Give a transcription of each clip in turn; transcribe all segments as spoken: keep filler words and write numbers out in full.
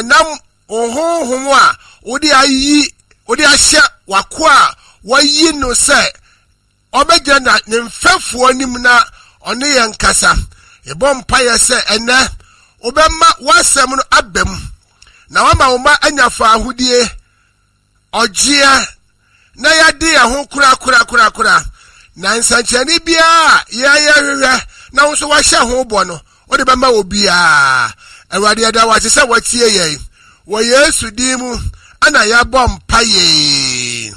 Yɛnam wo Honhom a wode ayi, wode ahyɛ w'akoa a wayi no sɛ ɔbɛgyina na ne mfɛfoɔ anim na ɔne yɛn kasa. Yɛbɔ mpaeɛ sɛ ɛnɛ wobɛma w'asɛm no aba mu na wama wo mma anya faahodie, ɔgyeɛ, na yɛade yɛn ho korakorakorakora, na nsɛnkyerɛnne biara a yɛyɛ hwehwɛ na wo nso wahyɛ ho bɔ no, wode bɛma wɔ biara. Awurade, yɛda wo ase sɛ watie yɛn. Wɔ Yesu din mu ana yɛbɔ mpaeɛ.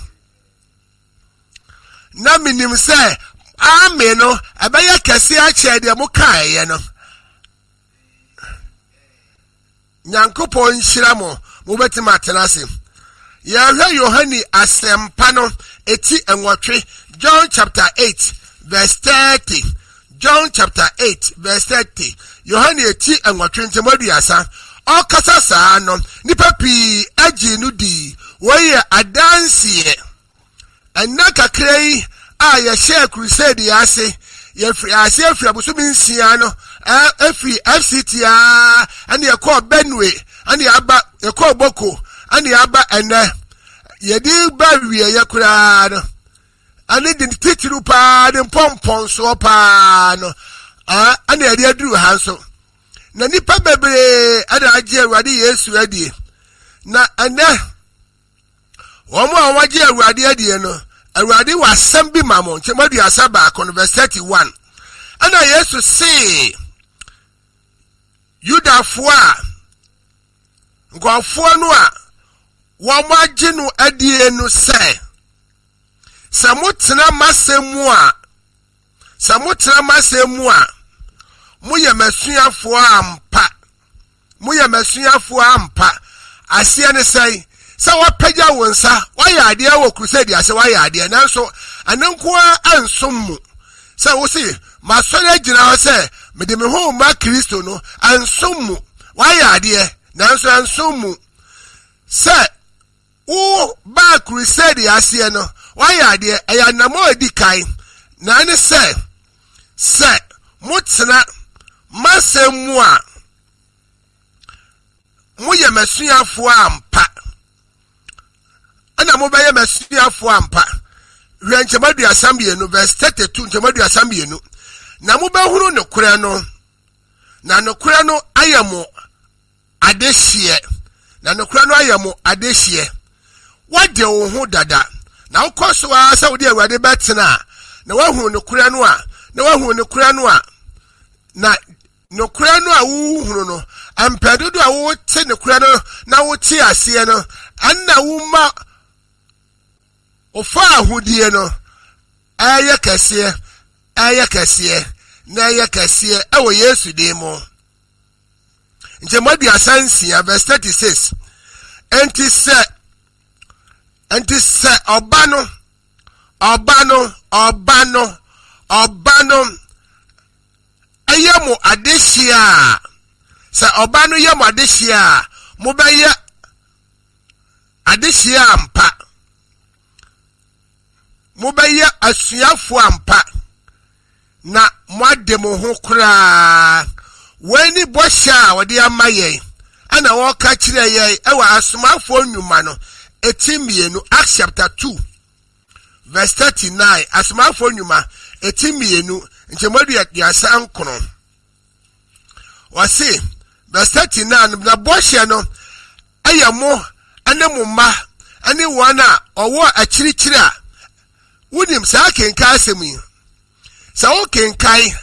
Na menim sɛ ame no ɛbɛyɛ kɛse akyɛ deɛ mokaeɛ no. Nyankopɔn nhyira mo. Mobɛtumi atena ase. Yɛhwɛ Yohane Asɛmpa no eti nwɔtwe, John chapter eight verse thirty. John chapter eight verse thirty. Yohane eti nwɔtwe nkyɛmu aduasa. Ɔkasa saa no, nipa pii agye no dii. Wɔyɛ adanseɛ. Ɛnna kakra yi a yɛhyɛɛ crusade yi ase, yɛfiri ase afiri abosome nsia no, ɛfiri F C T a ɛne yɛkɔɔ Benue, ɛne yɛaba yɛkɔɔ Boko, ɛne yɛaba ɛnɛ yɛde ba wieɛ koraa no, ɛne de titiriw paa ne mpɔmpɔnsoɔ paa no, ɛne yɛde aduru ha nso. Na nipa bebree ɛna agye Awurade Yesu adie. Na ɛnɛ wɔn a wɔagye Awurade adie no, Awurade wɔ asɛm bi ma mo. Nkyɛn aduasa baako no, verse thirty one, ɛna Yesu see Yudafoɔ a nkurɔfoɔ no a wɔn agye no adie no sɛ, sɛ motena m'asɛm mu a, sɛ motena m'asɛm mu a, moyɛ m'asuafoɔ ampa. Moyɛ m'asuafoɔ ampa. Aseɛ ne sɛn? Sɛ wɔapagya wo nsa, woayɛ adeɛ wɔ crusade ase, woayɛ adeɛ, nanso ɛno nko ara ansom mu sɛ wo se masɔre agyina hɔ sɛ mede me ho ma Kristo no. Ansom mu. Woayɛ adeɛ nanso ansom mu sɛ wo baa crusade aseɛ no, woayɛ adeɛ. Ɛyɛ anammɔ a edi kan na ɛne sɛ, sɛ motena m'asɛm mu a, moyɛ m'asuafoɔ ampa, ɛna mobɛyɛ m'asuafoɔ ampa. Hwɛ nkyɛn aduasa mmienu, verse thirty two, nkyɛn aduasa mmienu. Na mobɛhunu nokorɛ no, na nokorɛ no ayɛ mo adehyeɛ. Na nokorɛ no ayɛ mo adehyeɛ. Woade wo ho dada na wokɔ so ara sɛ wode Awurade bɛtena a, na woahunu nokorɛ no a, na woahunu nokorɛ no a, na nokorɛ no a wohunu no, mpɛ dodo a wote nokorɛ no na wote aseɛ no, ɛnna woma ɔfa ahodie no ɛyɛ kɛseɛ, ɛyɛ kɛseɛ na ɛyɛ kɛseɛ ɛwɔ Yesu din mu. Nkyɛn aduasa nsia, verse thirty six. Nti sɛ nti sɛ ɔba no ɔba no ɔba no ɔba no ɛyɛ mo adehyeɛ a, sɛ ɔba no yɛ mo adehyeɛ a, mobɛyɛ adehyeɛ ampa, mobɛyɛ asuafoɔ ampa, na moade mo ho koraa. Wei ne bɔhyɛ a wɔde ama yɛn, ɛna wɔka kyerɛ yɛn ɛwɔ Asomafoɔ Nnwuma no eti mmienu, Acts chapter two verse thirty nine. Asomafoɔ Nnwuma eti mmienu nkyɛnmu aduasa nkron, wɔse verse thirty nine, na bɔhyɛ no ɛyɛ mo ɛne mo mma ɛne wɔn a ɔwɔ akyirikyiri a. Wonim saa kenkan asɛm yi, sɛ wokenkan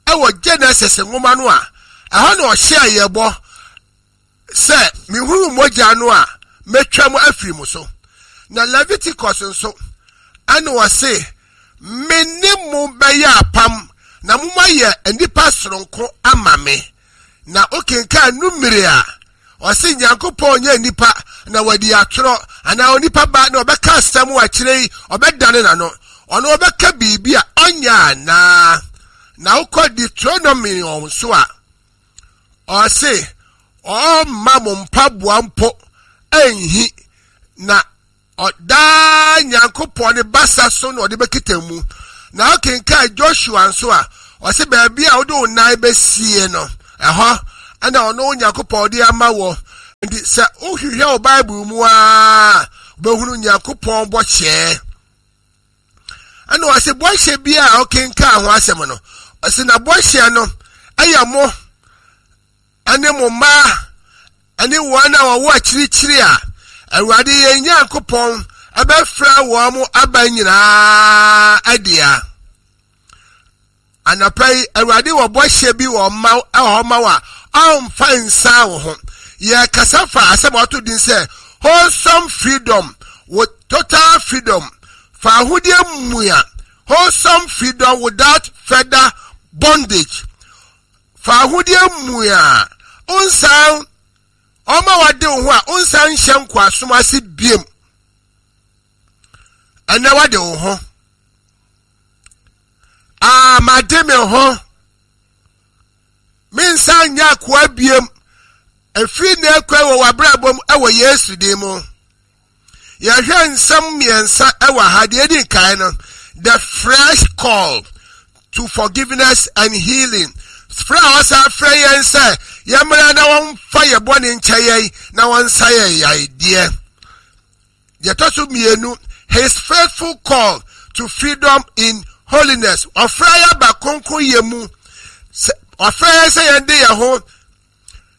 ɛwɔ Genesis nwoma no a, ɛhɔ na ɔhyɛ yɛ bɔ sɛ mehuru mogya no a, mɛtwa mu afiri mu so. Na Leviticus nso, ɛna wɔse me ne mo bɛyɛ apam na momayɛ nnipa soronko ama me. Na wokenkan Numere a, ɔse Nyankopɔn nyɛ nnipa na wadi atorɔ, anaa onipa ba na ɔbɛka asɛm wɔ akyerɛ yi ɔbɛdane n'ano. Ɔno ɔbɛka biribi a ɔnyɛ anaa? Na wokɔ Deuteronomy nso a, ɔse ɔmma mo mpaboa mpo ɛnhi, na ɔdaa Nyankopɔn ne basa so na ɔde bɛkita mu. Na wokenkan Joshua nso a, ɔse baabi a wode wo nan bɛsie no, ɛhɔ ɛna ɔno Nyankopɔn ɔde ama wɔ. Nti sɛ wohwehwɛ wɔ Bible mu a, wobɛhunu Nyankopɔn bɔhyɛ. Ɛna ɔse bɔhyɛ bi a ɔkenkaa ho asɛm no, ɔse na bɔhyɛ no ɛyɛ mo ɛne mo mma ɛne wɔn a wɔwɔ akyirikyiri a Awurade yɛn Nyankopɔn ɛbɛfrɛ wɔn mo aba nyinaa adea. Anɔpa yi, Awurade wɔ bɔhyɛ bi wɔ ma ɛwɔ hɔ ma wo a ɔmfa nsan wo ho. Yɛkasa fa asɛm a ɔto din sɛ wholesome freedom with total freedom, fa ahodeɛ mua, wholesome freedom without further bondage. Fa ahodeɛ mua, nsan ɔma wade wo ho a nsan nhyɛ nkoasom ase biem. Ɛnɛ wade wo ho. Ah, made me ho. Mensan nyɛ akoa biem. Efiri na ekɔ wɔ w'abrabɔ mu ɛwɔ Yesu din mu. Yɛhwɛ nsɛm mmiɛnsa ɛwɔ ha. Deɛ edi kan no, the fresh call to forgiveness and healing. Frɛ a ɔsan frɛ yɛn sɛ yɛmmra na wɔmfa yɛ bɔne nkyɛ yɛn na wɔnsa yɛn yadeɛ. Deɛ ɛtɔ so mmienu, his faithful call to freedom in holiness. Ɔfrɛ yɛ aba kronkron yɛ mu. Ɔfrɛ yɛn sɛ yɛn de yɛn ho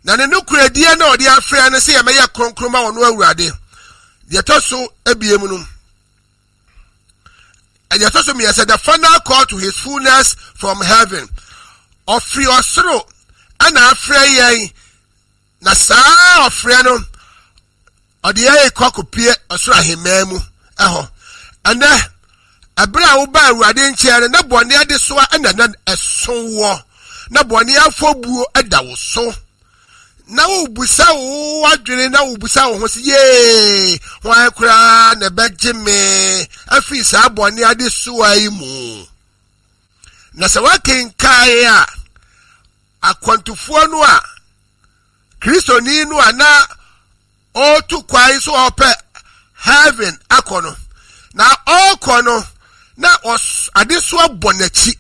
na ne nokoradie na ɔde afrɛ no sɛ yɛmɛyɛ kronkron ma wɔn Awurade. Deɛ ɛtɔ so ebiem no, deɛ ɛtɔ so mmiɛnsa, the final call to his fullness from heaven. Ɔfiri ɔsoro ɛna afrɛ yɛn, na saa ɔfrɛ no ɔde yɛn kɔ akɔpie ɔsoro ahemman mu ɛhɔ. Ɛnɛ ɛberɛ a woba Awurade nkyɛn no, na bɔne adesoa ɛna na ɛso wɔ, na bɔne afɔbuo ɛda wo so, na wobusa wo adwene na wobusa wo ho sɛ, yee, hwan koraa na ɛbɛgye me afiri saa bɔne adesoa yi mu? Na sɛ woakenkae a, akwantufoɔ no a Kristoni no a na ɔretu kwan so ɔpɛ heaven akɔ no, na ɔrekɔ no na adesoa bɔ n'akyi,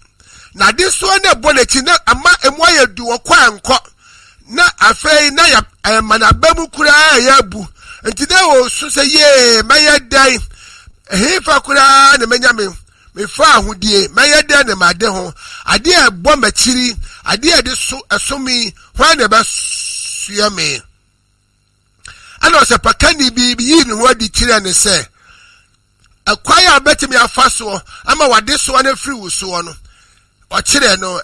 na adesoa no ɛbɔ n'akyi na ama emu ayɛ du, ɔkɔ ankɔ, na afei na yɛ ɛma n'aba mu koraa ɛyɛ abu. Nti na ɔsu sɛ, yee, mɛyɛ dɛn? Ɛhefa koraa na mɛnya me mefa ahodie? Mɛyɛ dɛn na made ho adeɛ a ɛbɔ m'akyiri, adeɛ a ɛde so ɛso mi, hwan na ɛbɛsoa me? Ɛna ɔsɛpakani bi yii ne ho adi kyerɛ ne sɛ ɛkwan a bɛtumi afa soɔ ama wade soɔ no afiri wo soɔ no, ɔkyerɛ no.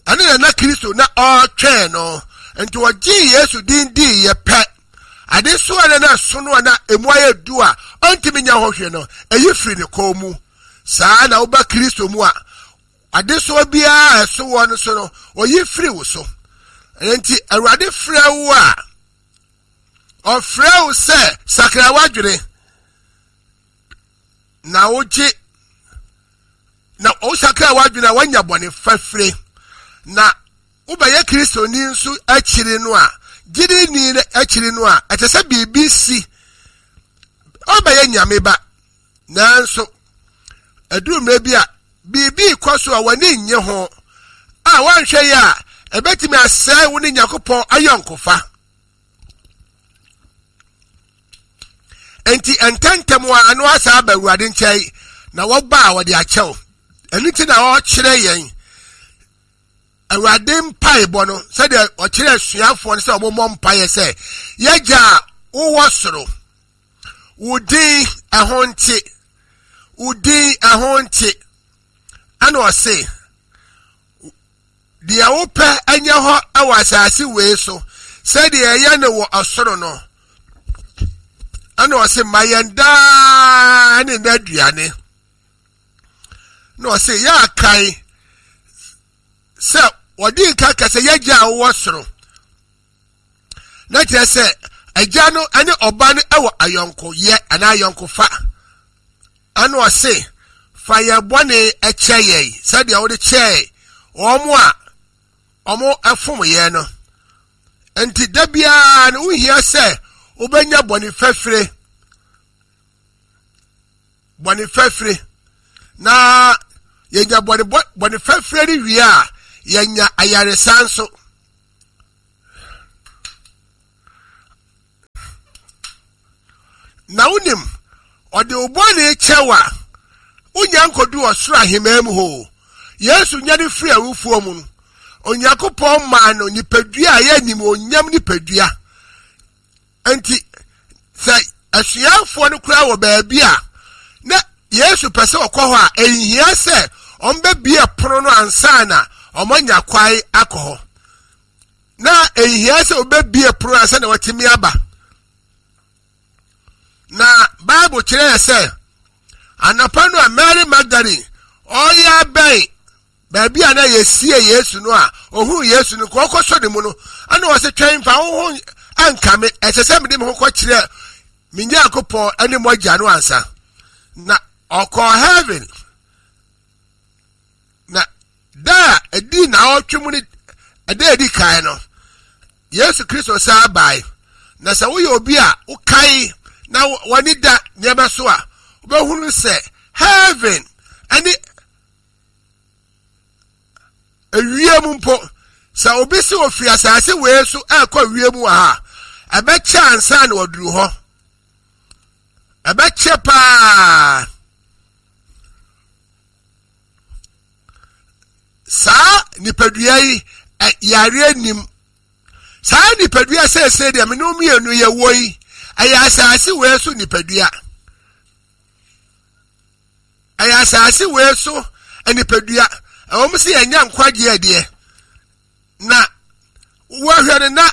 Ɛne na na Kristo na ɔretwɛn no. Nti ɔgyee Yesu din dii yɛ pɛ, adesoa no na ɛso no a na emu ayɛ du a ɔntumi nya hɔ hwɛ no, ɛyi firi ne kɔn mu. Saa na woba Kristo mu a, adesoa biara a ɛso wɔ no so no, ɔyi firi wo so. Nti Awurade frɛ wo a, ɔfrɛ wo sɛ sakra w'adwene na wogye, na wosakra w'adwene a, woanya bɔne fafire, na wobɛyɛ Kristoni nso akyiri no a, gyidini no akyiri no a, ɛkyɛ sɛ biribi si, ɔbɛyɛ Nyame ba. Nanso ɛduru mmerɛ bi a biribi kɔ so a w'ani nnye ho a, woanhwɛ yi a, ɛbɛtumi asɛe wo ne Nyankopɔn ayɔnkofa. Enti ntɛntɛm a ano asa aba Awurade nkyɛn na wɔba a wɔde akyɛw. Ɛno nti na ɔkyerɛ yɛn Awurade mpaebɔ no, sɛdeɛ ɔkyerɛ asuafoɔ no sɛ wɔmmɔ mpaeɛ sɛ, yɛgya a wowɔ soro, wo din ɛho nte, wo din ɛho nte. Ɛna ɔse, deɛ wopɛ ɛnyɛ hɔ ɛwɔ asase wei so sɛdeɛ ɛyɛ no wɔ ɔsoro no. Ɛna ɔse, ma yɛn daa ne n'aduane. Na ɔse, yɛ akae sɛ wɔde nka kɛsɛ yɛgya a wowɔ soro, na kyerɛ sɛ agya no ne ɔba no wɔ ayɔnkoyɛ anaa ayɔnkofa. Ɛna ɔse, fa yɛn bɔne kyɛ yɛn sɛdeɛ wode kyɛɛ wɔn a wɔn ɛfom yɛn no. Nti da biara no wohia sɛ wobɛnya bɔne fafire, bɔne fafire. Na yɛnya bɔne bɔne fafire no wie a, yɛnya ayaresa nso. Na wonim, ɔde wo bɔne kyɛ wo a, wonya nkɔdu ɔsoro ahemmaa mu hɔ. Yesu nya ne firi awufoɔ mu no, Onyankopɔn maa no nipadua a ɛyɛ animuonyam nipadua. Nti sɛ asuafoɔ no koraa wɔ baabi a na Yesu pɛ sɛ ɔkɔ hɔ a, ɛnhia sɛ ɔmbɛbie pono no ansa na ɔmanya kwae akɔ hɔ. Na ɛnhia sɛ ɔbɛbie pono ansa na watumi aba. Na Bible kyerɛ yɛ sɛ anɔpa no a Mary Magdalene ɔyɛ abɛn baabi a na yɛsie Yesu no a ohuu Yesu no kɔ ɔkɔsɔ ne mu no, ɛna ɔsɛ twɛn mfa wo ho anka me, ɛsɛ sɛ mede me ho kɔkyerɛ me Nyankopɔn ne mo agya no ansa. Na ɔkɔɔ heaven. Na da a ɛdi naawɔtwe mu ne ɛda edi kan no, Yesu Kristo san bae. Na sɛ woyɛ obi a wokae na w'ani da nneɛma so a, wobɛhunu sɛ heaven ɛne ewiem mpo, sɛ obi si ofiri asase wei so ɛrekɔ wiem wɔ ha, ɛbɛkyɛ ansa na waduru hɔ. Ɛbɛkyɛ paa. Saa nipadua yi yareɛ nim. Saa nipadua seesei deɛ me ne mmienu yɛ wɔ yi, ɛyɛ asase wei so nipadua. Ɛyɛ asase wei so nipadua. Ɛwɔ mu sɛ yɛnya nkwagyeɛ deɛ, na wɔhwɛ no na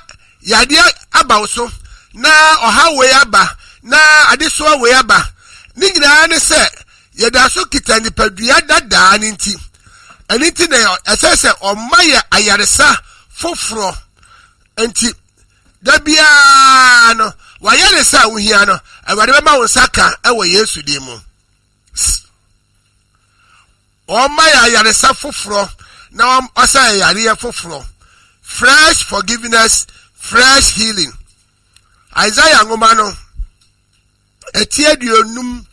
yadeɛ aba wo so, na ɔhaw wei aba, na adesoa wei aba. Ne nyinaa ne sɛ yɛda so kita nipadua dadaa ne nti. Ɛno nti na ɛsɛ sɛ ɔma yɛ ayaresa foforɔ. Nti da biara no wayaresa a wohia no, Awurade bɛma wo nsa ka ɛwɔ Yesu din mu. Ɔma yɛ ayaresa foforɔ na ɔsa yɛ yareɛ foforɔ. Fresh forgiveness, fresh healing. Isaiah nwoma no ɛti aduonum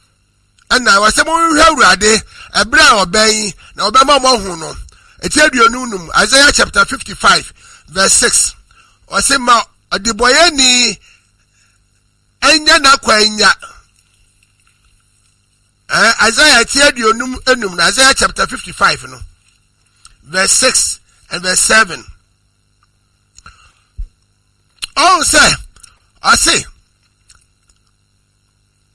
ɛna wɔsɛ monhwɛ Awurade ɛberɛ a ɔbɛn na ɔbɛma mo ahu no. Ɛti aduonum num, Isaiah chapter fifty-five verse six. Ɔsɛ ma ɔdebɔyɛni ɛnya n'akwan. Eh, Isaiah ti aduonum enum na Isaiah chapter fifty-five no verse six and verse seven. Ɔn sɛ ɔse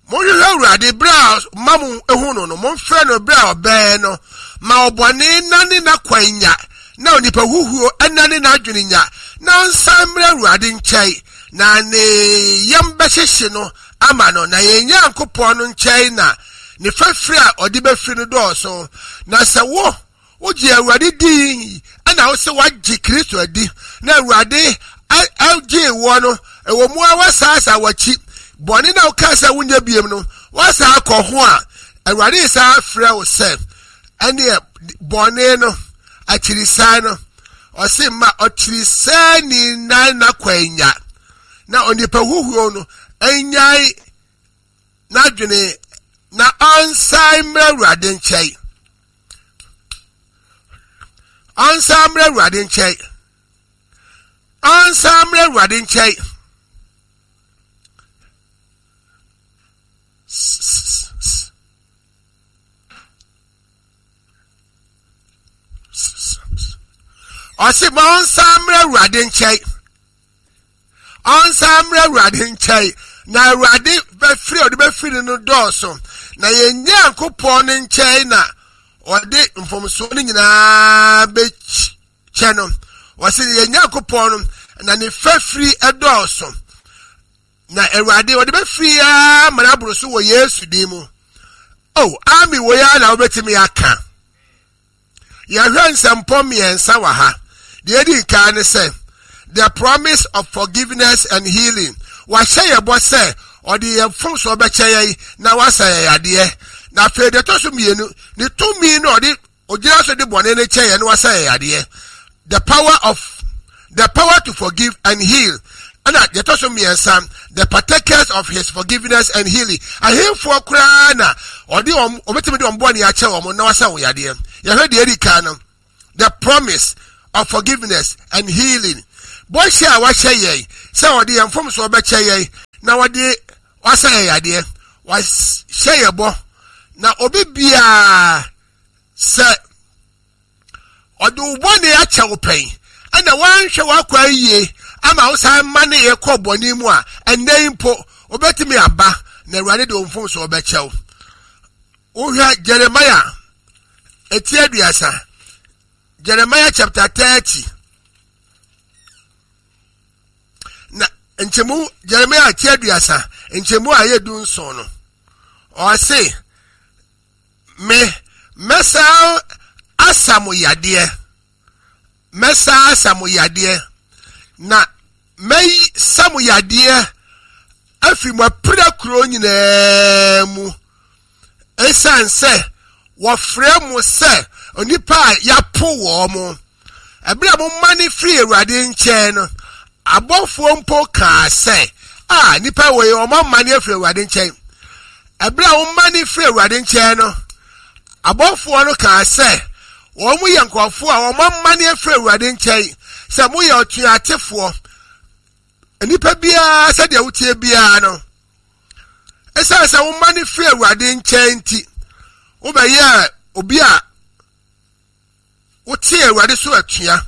monhwehwɛ Awurade berɛ a ma mo ehu no no, momfrɛ no berɛ a ɔbɛn no. Ma ɔbɔne nane n'akwan nya, na onipa huhuo ɛnane n'adwene nya, na ɔnsan mmerɛ Awurade nkyɛn, na ne yam bɛhyehye no ama no, na yɛn Nyankopɔn no nkyɛn na ne fafiri a ɔde bɛfiri no dɔɔso. Na sɛ wo wogye Awurade di, ɛna wo sɛ woagye Kristo adi, na Awurade agye wɔ no, ɛwɔ mu a woasaasa w'akyi bɔne na wokaa sɛ wonyɛ biem no, woasa akɔ ho a, Awurade saa frɛ wo sɛ ɛneɛ bɔne no akyirisan no, ɔse ma ɔkyirisan nan n'akwan nya, na onipa huhuo no ɛnyae n'adwene, na ɔnsan mmerɛ Awurade nkyɛn. Ɔnsan mmerɛ Awurade nkyɛn. Ɔnsan mmerɛ Awurade nkyɛn. Ɔse ma ɔnsan mmerɛ Awurade nkyɛn. Ɔnsan mmerɛ Awurade nkyɛn. Na Awurade bɛfiri ɔde bɛfiri no dɔɔso. Na yɛn Nyankopɔn ne nkyɛn na ɔde mfomsoɔ no nyinaa bɛkyɛ no. Ɔse yɛn Nyankopɔn no na ne fafiri dɔɔso. Na Awurade ɔde bɛfiri ara ma n'aboro so wɔ Yesu din mu. Oh, ami wɔ ya na wobɛtumi aka. Yɛhwɛ nsɛmpɔ mmiɛnsa wɔ ha. Deɛ edi nkan ne sɛ, the promise of forgiveness and healing. Wahyɛ yɛ bɔ sɛ ɔde yɛn mfomsoɔ bɛkyɛ yɛn na wasa yɛn yadeɛ. Na afei deɛ ɛtɔ so mmienu, ne tumi no ɔde ogyina so de bɔne no kyɛ yɛn na wasa yɛn yadeɛ. The power of the power to forgive and heal. Ɛna deɛ ɛtɔ so mmiɛnsa, the partakers of his forgiveness and healing. Ahemfoɔ koraa na ɔde wɔn, ɔbɛtumi de wɔn bɔne akyɛ wɔn na wasa wɔn yadeɛ. Yɛhwɛ deɛ edi kan no, the promise of forgiveness and healing. Bɔhyɛ a wahyɛ yɛn sɛ ɔde yɛn mfomsoɔ bɛkyɛ yɛn na ɔde Wasa yɛ yadeɛ, wahyɛ yɛ bɔ, na obi biara sɛ ɔde wo bɔne akyɛ wo pɛn ɛna wanhwɛ w'akwan yie ama wo san ma ne yɛ kɔ bɔne mu a, ɛnnɛ yi mpo wobɛtumi aba na Awurade de wo mfomsoɔ bɛkyɛ wo. Wohwɛ Jeremiah eti aduasa, Jeremiah chapter thirty na nkyɛmu, Jeremiah ti aduasa nkyɛmu a ɛyɛ du nson no, ɔse me mɛsa asa mo yadeɛ, mɛsa asa mo yadeɛ, na mɛsa mo yadeɛ afiri mo apira kuro nyinaa mu, ɛsiane sɛ wɔfrɛ mo sɛ onipa a yɛapo wɔ mo. Ɛberɛ a moma ne firi Awurade nkyɛn no, abɔfoɔ mpo kaa sɛ, a nipa wɔ yi ɔma ma ne afiri Awurade nkyɛn. Ɛberɛ a woma ne firi Awurade nkyɛn no, abɔfoɔ no kaa sɛ wɔn mo yɛ nkurɔfoɔ a wɔn ama ne afiri Awurade nkyɛn, sɛ moyɛ ɔtuatefoɔ. Nipa biara sɛdeɛ wotie biara no, ɛsiane sɛ woma ne firi Awurade nkyɛn nti, wobɛyɛ obi a wote Awurade so atua.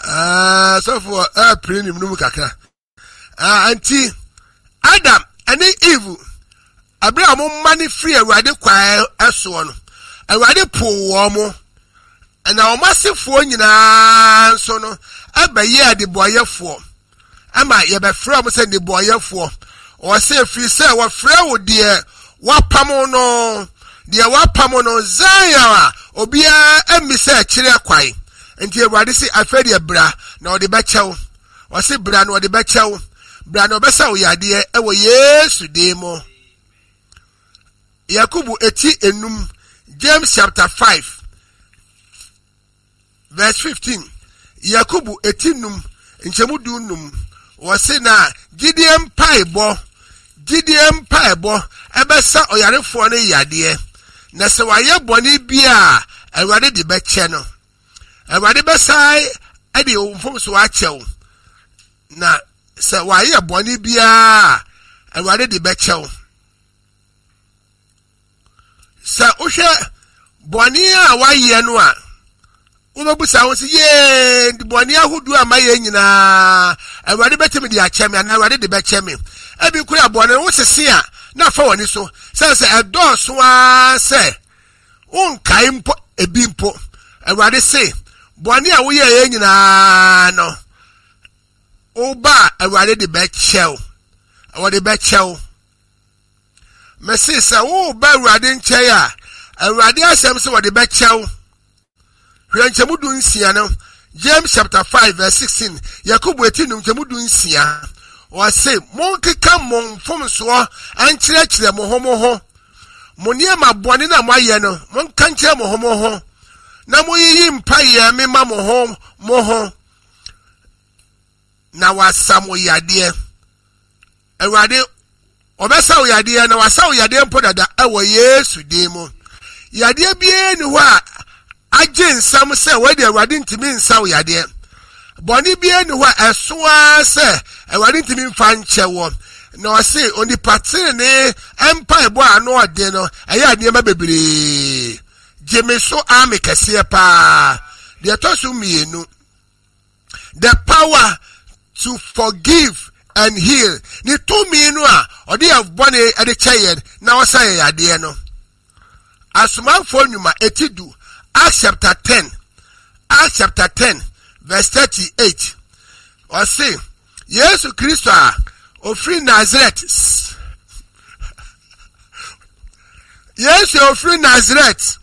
Ah, sɔfo ɛpere nim no mu kakra. Ah, nti Adam ɛne Eve, abere a wɔn mma ne firi Awurade kwan ɛsoɔ no, Awurade po wɔn mo, ɛna wɔn asefoɔ nyinaa nso no ɛbɛyɛ adebɔyɛfoɔ. Ama yɛbɛfrɛ wɔn sɛ nnebɔyɛfoɔ. Wɔsɛ efiri sɛ wɔfrɛ wo deɛ wapam no, deɛ wapam no Zion a obiara ɛmmi sɛ ɛkyerɛ kwan. Nti Awurade sɛ afei deɛ bra na ɔde bɛkyɛw. Wɔsɛ bra na ɔde bɛkyɛw. Bra na ɔbɛsa wo yadeɛ ɛwɔ Yesu din mu. Yakubu eti enum, James chapter five verse fifteen. Yakubu eti num nkyɛmu du num. Wɔse na gyidie mpaebɔ, gyidie mpaebɔ ɛbɛsa ɔyarefoɔ no yadeɛ, na sɛ wayɛ bɔne bi a, Awurade de bɛkyɛ no. Awurade bɛsae ɛde mfomso akyɛ wo, na sɛ wayɛ bɔne biara, Awurade de bɛkyɛ wo. Sɛ wohwɛ bɔne a wayɛ no a, wobɛbusa wo sɛ, yee, bɔne ahodoɔ a mayɛ nyinaa, Awurade bɛtumi de akyɛ me anaa Awurade de bɛkyɛ me? Ebi kura bɔne no wosese a, na afa w'ani so sɛ sɛ ɛdɔɔso ara sɛ wonkae mpo ebi mpo. Awurade se bɔne a woyɛeɛ nyinaa no, woba a Awurade de bɛkyɛ wo. Wɔde bɛkyɛ wo. Mese sɛ woba Awurade nkyɛn a, Awurade asɛm sɛ wɔde bɛkyɛ wo. Hwɛ nkyɛmu du nsia no, James chapter five verse sixteen, Yakubu eti num nkyɛmu du nsia. Wɔse monkeka mo mfomsoɔ nkyerɛkyerɛ mo ho mo ho. Mo nneɛma bɔne na moayɛ no, monka nkyerɛ mo ho mo ho. Na moyiyi mpaeɛ mema mo ho mo ho. Na wasa mo yadeɛ. Awurade ɔbɛsa wo yadeɛ na wasa wo yadeɛ mpo dada ɛwɔ Yesu din mu. Yadeɛ biara ni hɔ a agye nsɛm sɛ wɔde Awurade ntumi nsa wo yadeɛ. Bɔne biara ni hɔ a ɛso ara sɛ Awurade ntumi mfa nkyɛ wɔ. Na ɔse onipa tenenee mpaebɔ a ano ɔden no ɛyɛ nneɛma bebree. Gye me so ame kɛseɛ paa. Deɛ ɛtɔ so mmienu, the power to forgive and heal. Ne tumi no a ɔde yɛ bɔne ɛde kyɛ yɛn na ɔsa yɛn yadeɛ no. Asomafoɔ nnwuma eti du, Acts chapter ten, Acts chapter ten verse thirty-eight. Ɔse Yesu Kristo a ofiri Nazareth, Yesu a ofiri Nazareth,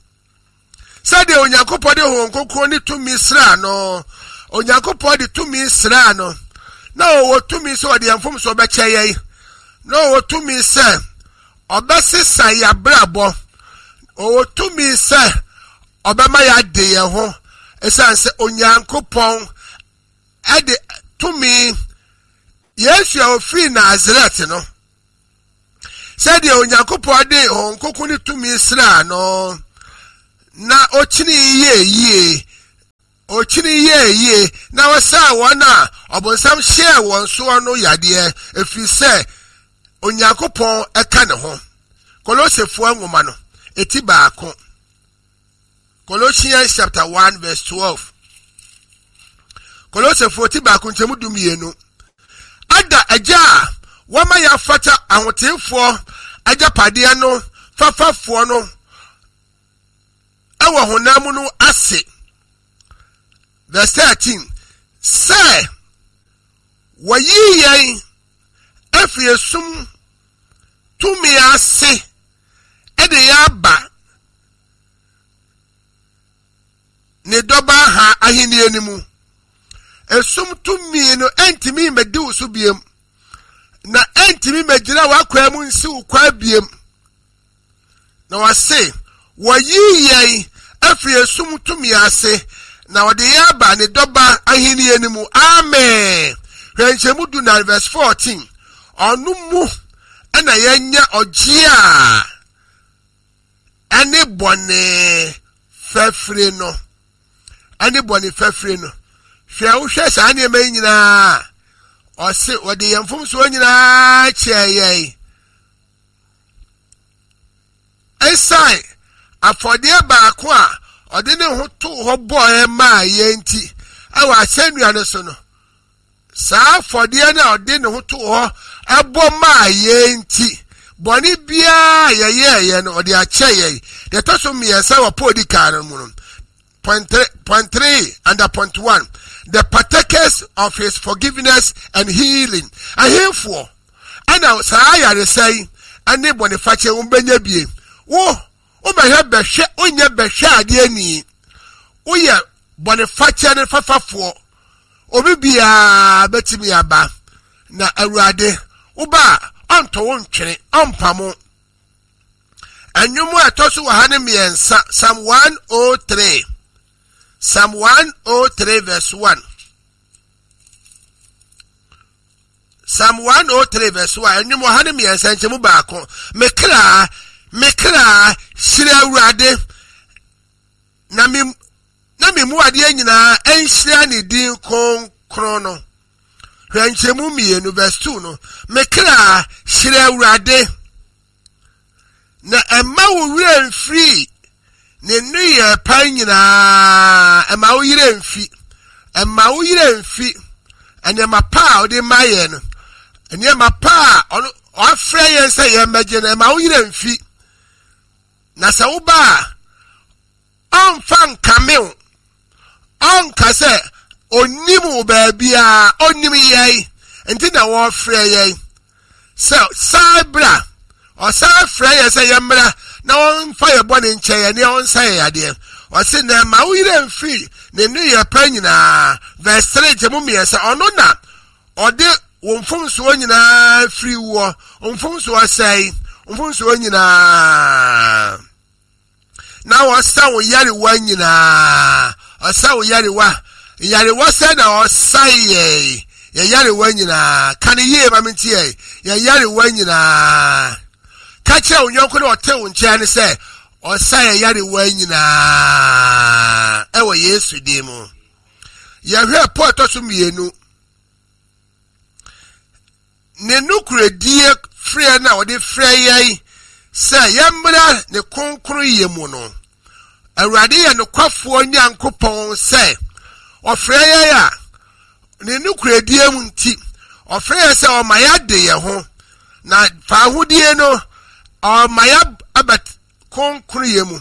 sɛdeɛ Onyankopɔn de Honhom Kronkron ne tumi sraa no, Onyankopɔn de tumi sraa no, na ɔwɔ tumi sɛ ɔde yɛn mfomsoɔ bɛkyɛ yɛn, na ɔwɔ tumi sɛ ɔbɛsesa yɛn abrabɔ, ɔwɔ tumi sɛ ɔbɛma yɛade yɛn ho, ɛsiane sɛ Onyankopɔn ɛde tumi. Yesu a ofiri Nasaret no, sɛdeɛ Onyankopɔn de Honhom Kronkron ne tumi sraa no, na okyini yie yie, Ɔkyini yɛɛ yie na ɔsaa wɔn a ɔbonsam hyɛɛ wɔn soɔ no yadeɛ, ɛfiri sɛ Onyankopɔn ɛka ne ho. Kolosefoɔ nwoma no, eti baako. Colossians chapter one verse twelve. Kolosefoɔ ti baako nkyɛmu du mmienu. Ada agya a wɔma yɛafata ahoteefoɔ agyapadeɛ no fafafoɔ no ɛwɔ honam mu no ase. Verse thirteen. Sɛ wɔyi yɛn afiri esum tumi ase ɛde yɛn aba ne dɔba ha ahenni no mu. Esum tumi no ɛntumi mmɛdi wo so biem, na ɛntumi mmɛgyina w'akwan mu nsi wo kwan biem. Na wɔse wɔyi yɛn afiri esum tumi ase na wɔde yɛn aba ne dɔba ahenni no mu. Amen. Hwɛ nkyɛmu du na verse fourteen. Ɔno mu ɛna yɛnya ɔgye a ɛne bɔne fɛfiri no, ɛne bɔne fɛfiri no. Hwɛ, wohwɛ saa nneɛma yi nyinaa, ɔse wɔde yɛn mfomsoɔ nyinaa kyɛɛ yɛn. Ɛsiane afɔdeɛ baako a ɔde ne ho too hɔ bɔɔ maa yɛn nti, ɛwɔ asɛnnua no so no, saa afɔdeɛ no a ɔde ne ho too hɔ ɛbɔ maa yɛn nti, bɔne biara yɛyɛɛyɛ no ɔde akyɛ yɛn. Deɛ ɛtɔ so mmiɛnsa wɔ Paul di kan no mu no, point three, point three under point one, the partakers of his forgiveness and healing. Ahemfoɔ ɛna saa ayaresa yi ɛne bɔnefakyɛ wɔn bɛnya bie. Wo wobɛhwɛ bɛhwɛ wonyɛ bɛhwɛ adeɛ ni, woyɛ bɔnefakyɛ ne fafafoɔ. Obi biara bɛtumi aba na Awurade woba a ɔntɔ wo ntwene, ɔmpamo. Ɛnwom a ɛtɔ so wɔ ha ne mmiɛnsa, Psalm one oh three, Psalm one oh three verse one. Psalm one oh three verse one. Ɛnwom wɔ ha ne mmiɛnsa nkyɛmu baako. Me kra, me kra, hyira Awurade, na me na me mu adeɛ nyinaa ɛnhyira ne din kronkron no. Hwɛ nkyɛmu mmienu verse two no. Me kra, hyira Awurade, na ɛmma wo werɛ mfiri ne nneyɛɛ pa nyinaa. Ɛmma wo yerɛ mfi, ɛmma wo yerɛ mfi nneɛma pa a ɔde ma yɛn no, nneɛma pa a ɔno ɔafrɛ yɛn sɛ yɛn mmɛgye no, ɛmma wo yerɛ mfi. Na sɛ woba a, ɔmfa nkame wo, ɔnka sɛ onim wo baabiara, onim yɛn nti na wɔfrɛ yɛn sɛ saa bra. Ɔsan frɛ yɛn sɛ yɛmmra na wɔmfa yɛn bɔne nkyɛ yɛn ne ɔnsa yɛn yadeɛ. Ɔse na ɛma wo yerɛ mfiri ne nneyɛɛ pa nyinaa. Verse three nkyɛmu mmiɛnsa, ɔno na ɔde wo mfomsoɔ nyinaa firi woɔ. Mfomsoɔ sɛe, mfomsoɔ nyinaa, na ɔsa wo yarewa nyinaa. Ɔsa wo yarewa, yarewa sɛ na ɔsa yɛn yɛ yarewa nyinaa. Ka ne yie ma me nti yɛ yɛ yarewa nyinaa. Ka kyerɛ wo yɔnko na ɔte wo nkyɛn ne sɛ ɔsa yɛ yarewa nyinaa ɛwɔ Yesu din mu. Yɛhwɛ Paul ɛtɔ so mmienu, ne nokoredie frɛ na ɔde frɛ yɛn sɛ yɛmmra ne kronkron yɛ mu no. Awurade yɛ nokwafoɔ Nyankopɔn sɛ ɔfrɛ yɛn a ne nokoredie mu nti ɔfrɛ yɛn sɛ ɔma yɛade yɛn ho, na faahodie no ɔma yɛaba kronkron yɛ mu.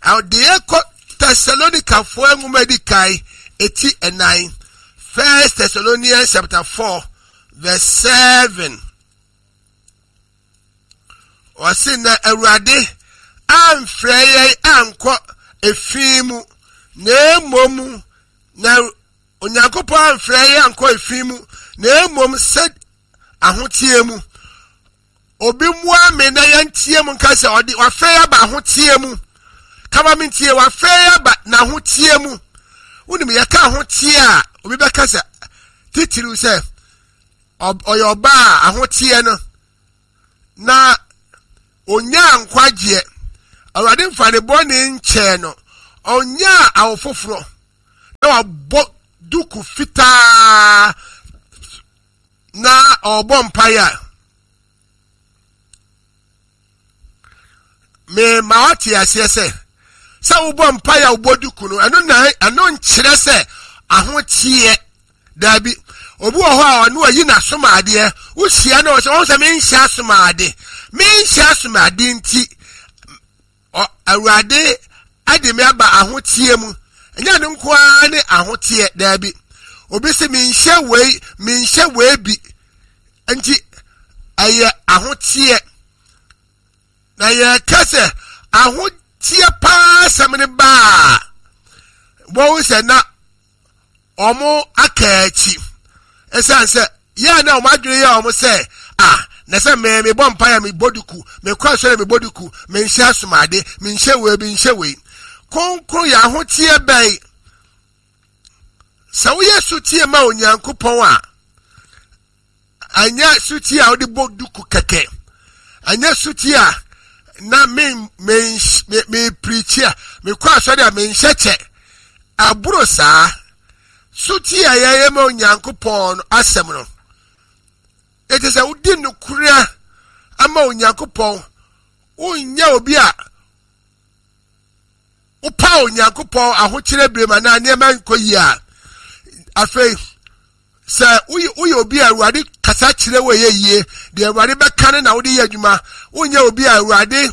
Ɔde yɛn kɔ Tesalonikafoɔ nwoma di kan eti ɛnan, First Thessalonians chapter four verse seven. Ɔse na Awurade amfrɛ yɛn ankɔ efi mu, na mmom na Onyankopɔn amfrɛ yɛn ankɔ efi mu, na mmom sɛ ahoteɛ mu. Obi mmoa me na yɛntie mu nka sɛ ɔde wafrɛ yɛn aba ahoteɛ mu. Kama me ntie, wafrɛ yɛn aba n'ahoteɛ mu. Wonim yɛka ahoteɛ a, obi bɛka sɛ titiriw sɛ ɔyɛ ɔbaa a ahoteɛ no na onyaa nkwagyeɛ. Awurade mfa ne bɔne nkyɛɛ no, ɔnyaa awo foforɔ. Na wabɔ duku fitaa na ɔrebɔ mpaeɛ a, mema wate aseɛ sɛ sɛ wobɔ mpaeɛ a wobɔ duku no, ɛno na ɛno nkyerɛ sɛ ahoteɛ. Daabi, obi wɔ hɔ a ɔno ayi n'asomadeɛ, wohyia no ɔsɛ ɔn sɛ menhyɛ asomade, menhyɛ asomade nti Awurade ade me aba ahoteɛ mu. Ɛnyɛ no nko ara ne ahoteɛ, daabi. Obi sɛ menhyɛ wei, menhyɛ wei bi nti ɛyɛ ahoteɛ. Na yɛka sɛ ahoteɛ paa sɛm no baa, wɔn sɛ na wɔn aka akyi. Ɛsiane sɛ yɛn na wɔn adwene yɛ wɔn sɛ a na sɛ mɛ mebɔ mpaeɛ a mebɔ duku, mekɔ asɔre a mebɔ duku, menhyɛ asomade, menhyɛ wei, menhyɛ wei. Kronkron yɛ ahoteɛ bɛn? Sɛ woyɛ sotie ma Onyankopɔn a, ɛnyɛ sotie a wode bɔ duku kɛkɛ, ɛnyɛ sotie a na me me me me pirikyi a mekɔ asɔre a menhyɛ kyɛ, aboro saa. Sotie a yɛyɛ ma Onyankopɔn no asɛm no, ɛte sɛ wodi nokorɛ ama Onyankopɔn. Wonyɛ obi a wopa Onyankopɔn ahokyerɛ berɛ mu anaa nneɛma nkɔ yie a. Afei sɛ woyɛ obi a Awurade kasa kyerɛ wo ɛyɛ yie, deɛ Awurade bɛka no na wode yɛ adwuma. Wonyɛ obi a Awurade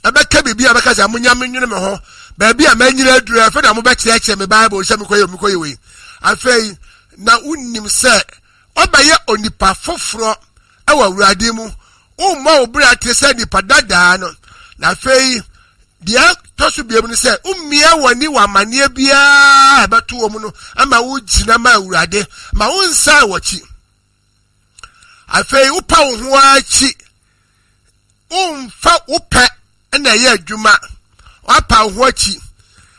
ɛbɛka biribi a bɛka sɛ monya menwene me ho baabi a manyina aduru, afei na mobɛkyerɛkyerɛ me Bible sɛ mekɔyɛ mekɔyɛ wei. Afei na wonim sɛ ɔbɛyɛ onipa foforɔ ɛwɔ Awurade mu. Wommɔ wo bra te sɛ nipa dadaa no. Na afei deɛ ɛtɔ so biom no sɛ wommia w'ani wɔ amanneɛ biara a ɛbɛto wɔ mu no ama wogyina ma Awurade, ma wonsan w'akyi. Afei wopa wo ho akyi, womfa wo pɛ na ɛyɛ adwuma, woapa wo ho akyi.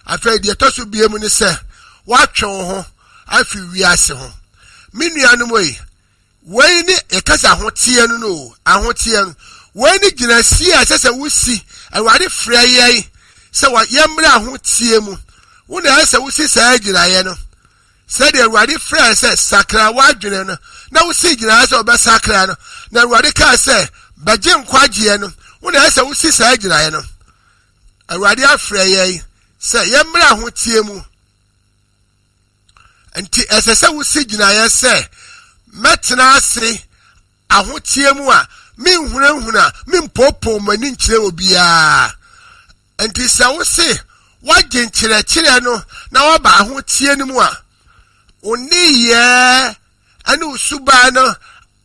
Afei deɛ ɛtɔ so biom no sɛ woatwe wo ho afi wiase ho. Me nuanom yi, wei ne yɛka sɛ ahoteɛ no no, ahoteɛ no. Wei ne gyinasie a ɛsɛ sɛ wosi. Awurade frɛ yɛn sɛ yɛmmrɛ ahoteɛ mu. Wo na ɛsɛ sɛ wosi saa gyinaeɛ no. Sɛdeɛ Awurade frɛ sɛ sakra w'adwene no, na wosi gyinaeɛ sɛ wobɛsakra no, na Awurade kaa sɛ bɛgye nkwagyeɛ no, wo na ɛsɛ sɛ wosi saa gyinaeɛ no. Awurade afrɛ yɛn sɛ yɛmmrɛ ahoteɛ mu. Nti ɛsɛ sɛ wosi gyinaeɛ sɛ mɛtena ase ahoteɛ mu a menhunahuna, mempoopoo m'ani nkyerɛ obiara. Nti sɛ wose woagye nkyerɛkyerɛ no na woaba ahoteɛ no mu a, wo nneyɛɛ ne wo suban no,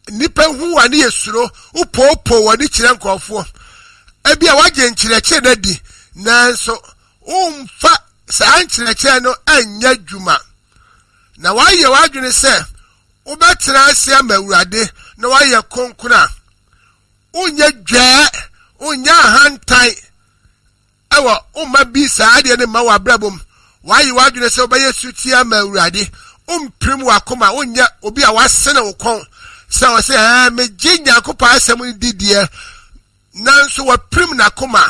nnipa hu wa ne yɛ suro, wopoopoo w'ani kyerɛ nkurɔfoɔ. Ebi a woagye nkyerɛkyerɛ no adi, nanso womfa saa nkyerɛkyerɛ no anyɛ adwuma. Na woayɛ w'adwene sɛ wobɛtena ase ama Awurade na woayɛ kronkron a, wonyɛ dwɛɛ, wonyɛ ahantan ɛwɔ womma bi saa adeɛ no mma w'abrabɔ mu. Woayɛ w'adwene sɛ wobɛyɛ sutie ama Awurade, wompirim w'akoma, wonyɛ obi a wasene wo kɔn sɛ ɔsɛ ɛɛ megye Nyankopɔn asɛm no di deɛ, nanso wapirim n'akoma.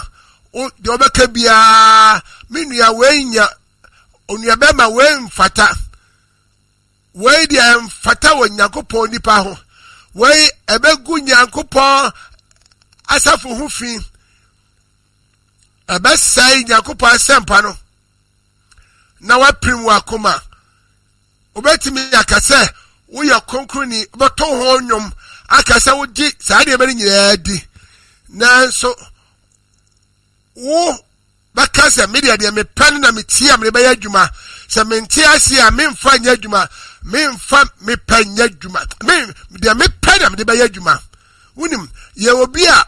Deɛ ɔbɛka biara, me nua wei nya, onua bɛrima wei mfata, wei deɛ mfata wɔ Nyankopɔn nipa ho, wei ɛbɛgu Nyankopɔn asafo ho fi, ɛbɛsɛe Nyankopɔn asɛmpa no, na wapirim w'akoma. Wobɛtumi aka sɛ woyɛ kronkronni, wobɛto ho nnwom aka sɛ wogye saa nneɛma no nyinaa di, nanso wo bɛka sɛ me deɛ deɛ mepɛ no na metie a mede bɛyɛ adwuma, sɛ mente ase a memfa nyɛ adwuma, memfa mepɛ nyɛ adwuma, me deɛ mepɛ na mede bɛyɛ adwuma. Wonim, yɛ obi a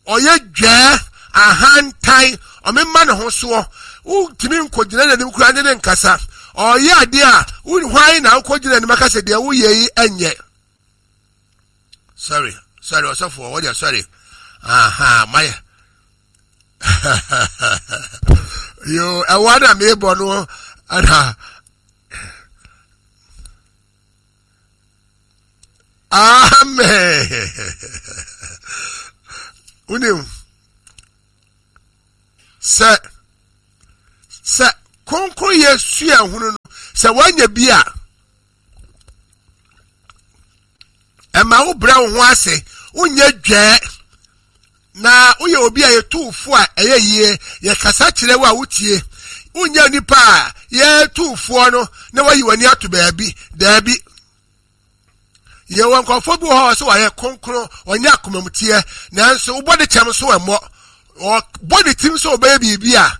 ɔyɛ dwɛɛ, ahantan, ɔmema ne ho soɔ, wontumi nkɔgyina n'anim koraa ne ne nkasa. Ɔyɛ adeɛ a, hwan na wokɔgyina anim aka sɛ deɛ woyɛ yi ɛnyɛ? Sorry, sorry, ɔsɔfoɔ, wɔdeɛ sorry. Aha, mayɛ. Yo, ɛwɔ na mebɔ no, ɛna. Amen. Wonim, sɛ sɛ kronkronyɛ sua hunu no, Sɛ woanya bi a, ɛma wo brɛ wo ho ase, wonyɛ dwɛɛ, na woyɛ obi a yɛtu wo fo a ɛyɛ yie, yɛkasa kyerɛ wo a wotie. Wonyɛ nipa a yɛtu foɔ no na wayi w'ani ato baabi. Daabi, yɛwɔ nkurɔfoɔ bi wɔ hɔ a sɛ wɔayɛ kronkron, wɔnyɛ akomamuteɛ, nanso wobɔ ne kyɛm so ɛmmɔ. Ɔbɔ ne tirim sɛ ɔbɛyɛ biribi a,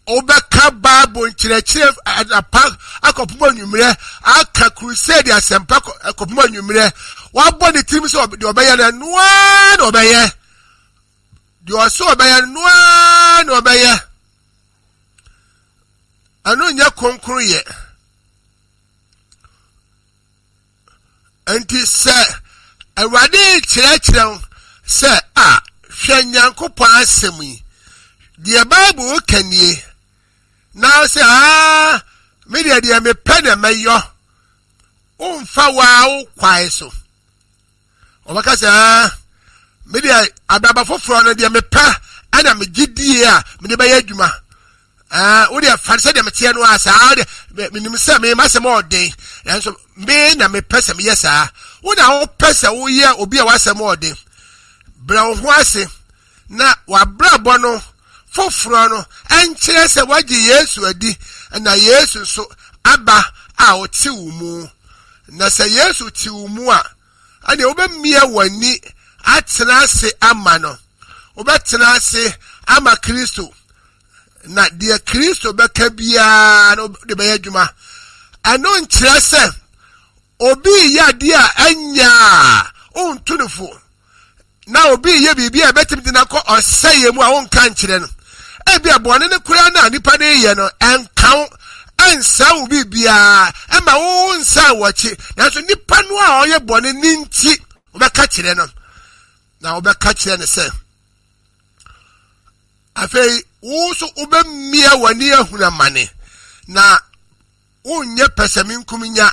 wobɛka Bible nkyerɛkyerɛ anapa akɔpem anwummerɛ, aka crusade asɛmpa akɔpem anwummerɛ. Wabɔ ne tirim sɛ deɛ ɔbɛyɛ no, ɛnoa na ɔbɛyɛ. Deɛ ɔsɛ ɔbɛyɛ no, noa na ɔbɛyɛ. Ɛno nyɛ kronkron yɛ. Nti sɛ Awurade kyerɛkyerɛ wo sɛ a, hwɛ Nyankopɔn asɛm yi, deɛ Bible ka nie, na sɛ aa me deɛ deɛ mepɛ na mɛyɔ, womfa waa wo kwae so. Ɔbɛka sɛ aa me deɛ abraba foforɔ no deɛ mepɛ ɛna megye die a mede bɛyɛ adwuma. Ɛɛ wo deɛ fa sɛ deɛ meteɛ no a, saa deɛ menim sɛ me masɛm ɔden, nanso me na mepɛ sɛ meyɛ saa. Wo na wopɛ sɛ woyɛ obi a wasɛm ɔden. Brɛ wo ho ase na wabrabɔ no foforɔ no ɛnkyerɛ sɛ wagye Yesu adi na Yesu nso aba a ɔte wo mu. Na sɛ Yesu te wo mu a, ɛnneɛ wobɛmia w'ani atena ase ama no. Wobɛtena ase ama Kristo, na deɛ Kristo bɛka biara no de bɛyɛ adwuma. Ɛno nkyerɛ sɛ obi yɛ adeɛ a ɛnyɛ a wonto no fo, na obi yɛ biribi a ɛbɛtumi de no akɔ ɔsɛeɛ mu a wonka nkyerɛ no. Ebi a bɔne no koraa no a nipa no yɛ no ɛnka wo, ɛnsa wo biribiara, ɛma wo nsa wɔ akyi, nanso nipa no a ɔyɛ bɔne ne nti wobɛka kyerɛ no, na wobɛka kyerɛ no sɛ afei wo nso wobɛmmia w'ani ahunu amane na wonyɛ pɛsɛmenkominya.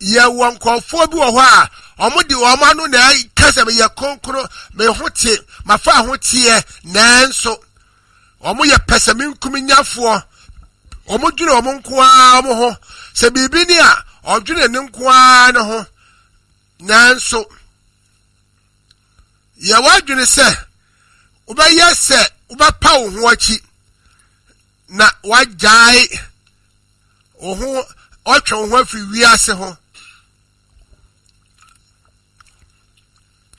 Yɛwɔ nkurɔfoɔ bi wɔ hɔ a wɔn de wɔn ano na ɛka sɛ meyɛ kronkron, me ho te, mafa ho teɛ, nanso wɔn yɛ pɛsɛmenkominyafoɔ. Wɔn dwene wɔn nko ara wɔn ho. Sɛ biribi ni a, ɔdwene ne nko ara ne ho. Nanso yɛwɔ adwene sɛ wobɛyɛ sɛ wobɛpa wo ho akyi na wagyae wo ho, ɔtwe wo ho afiri wiase ho.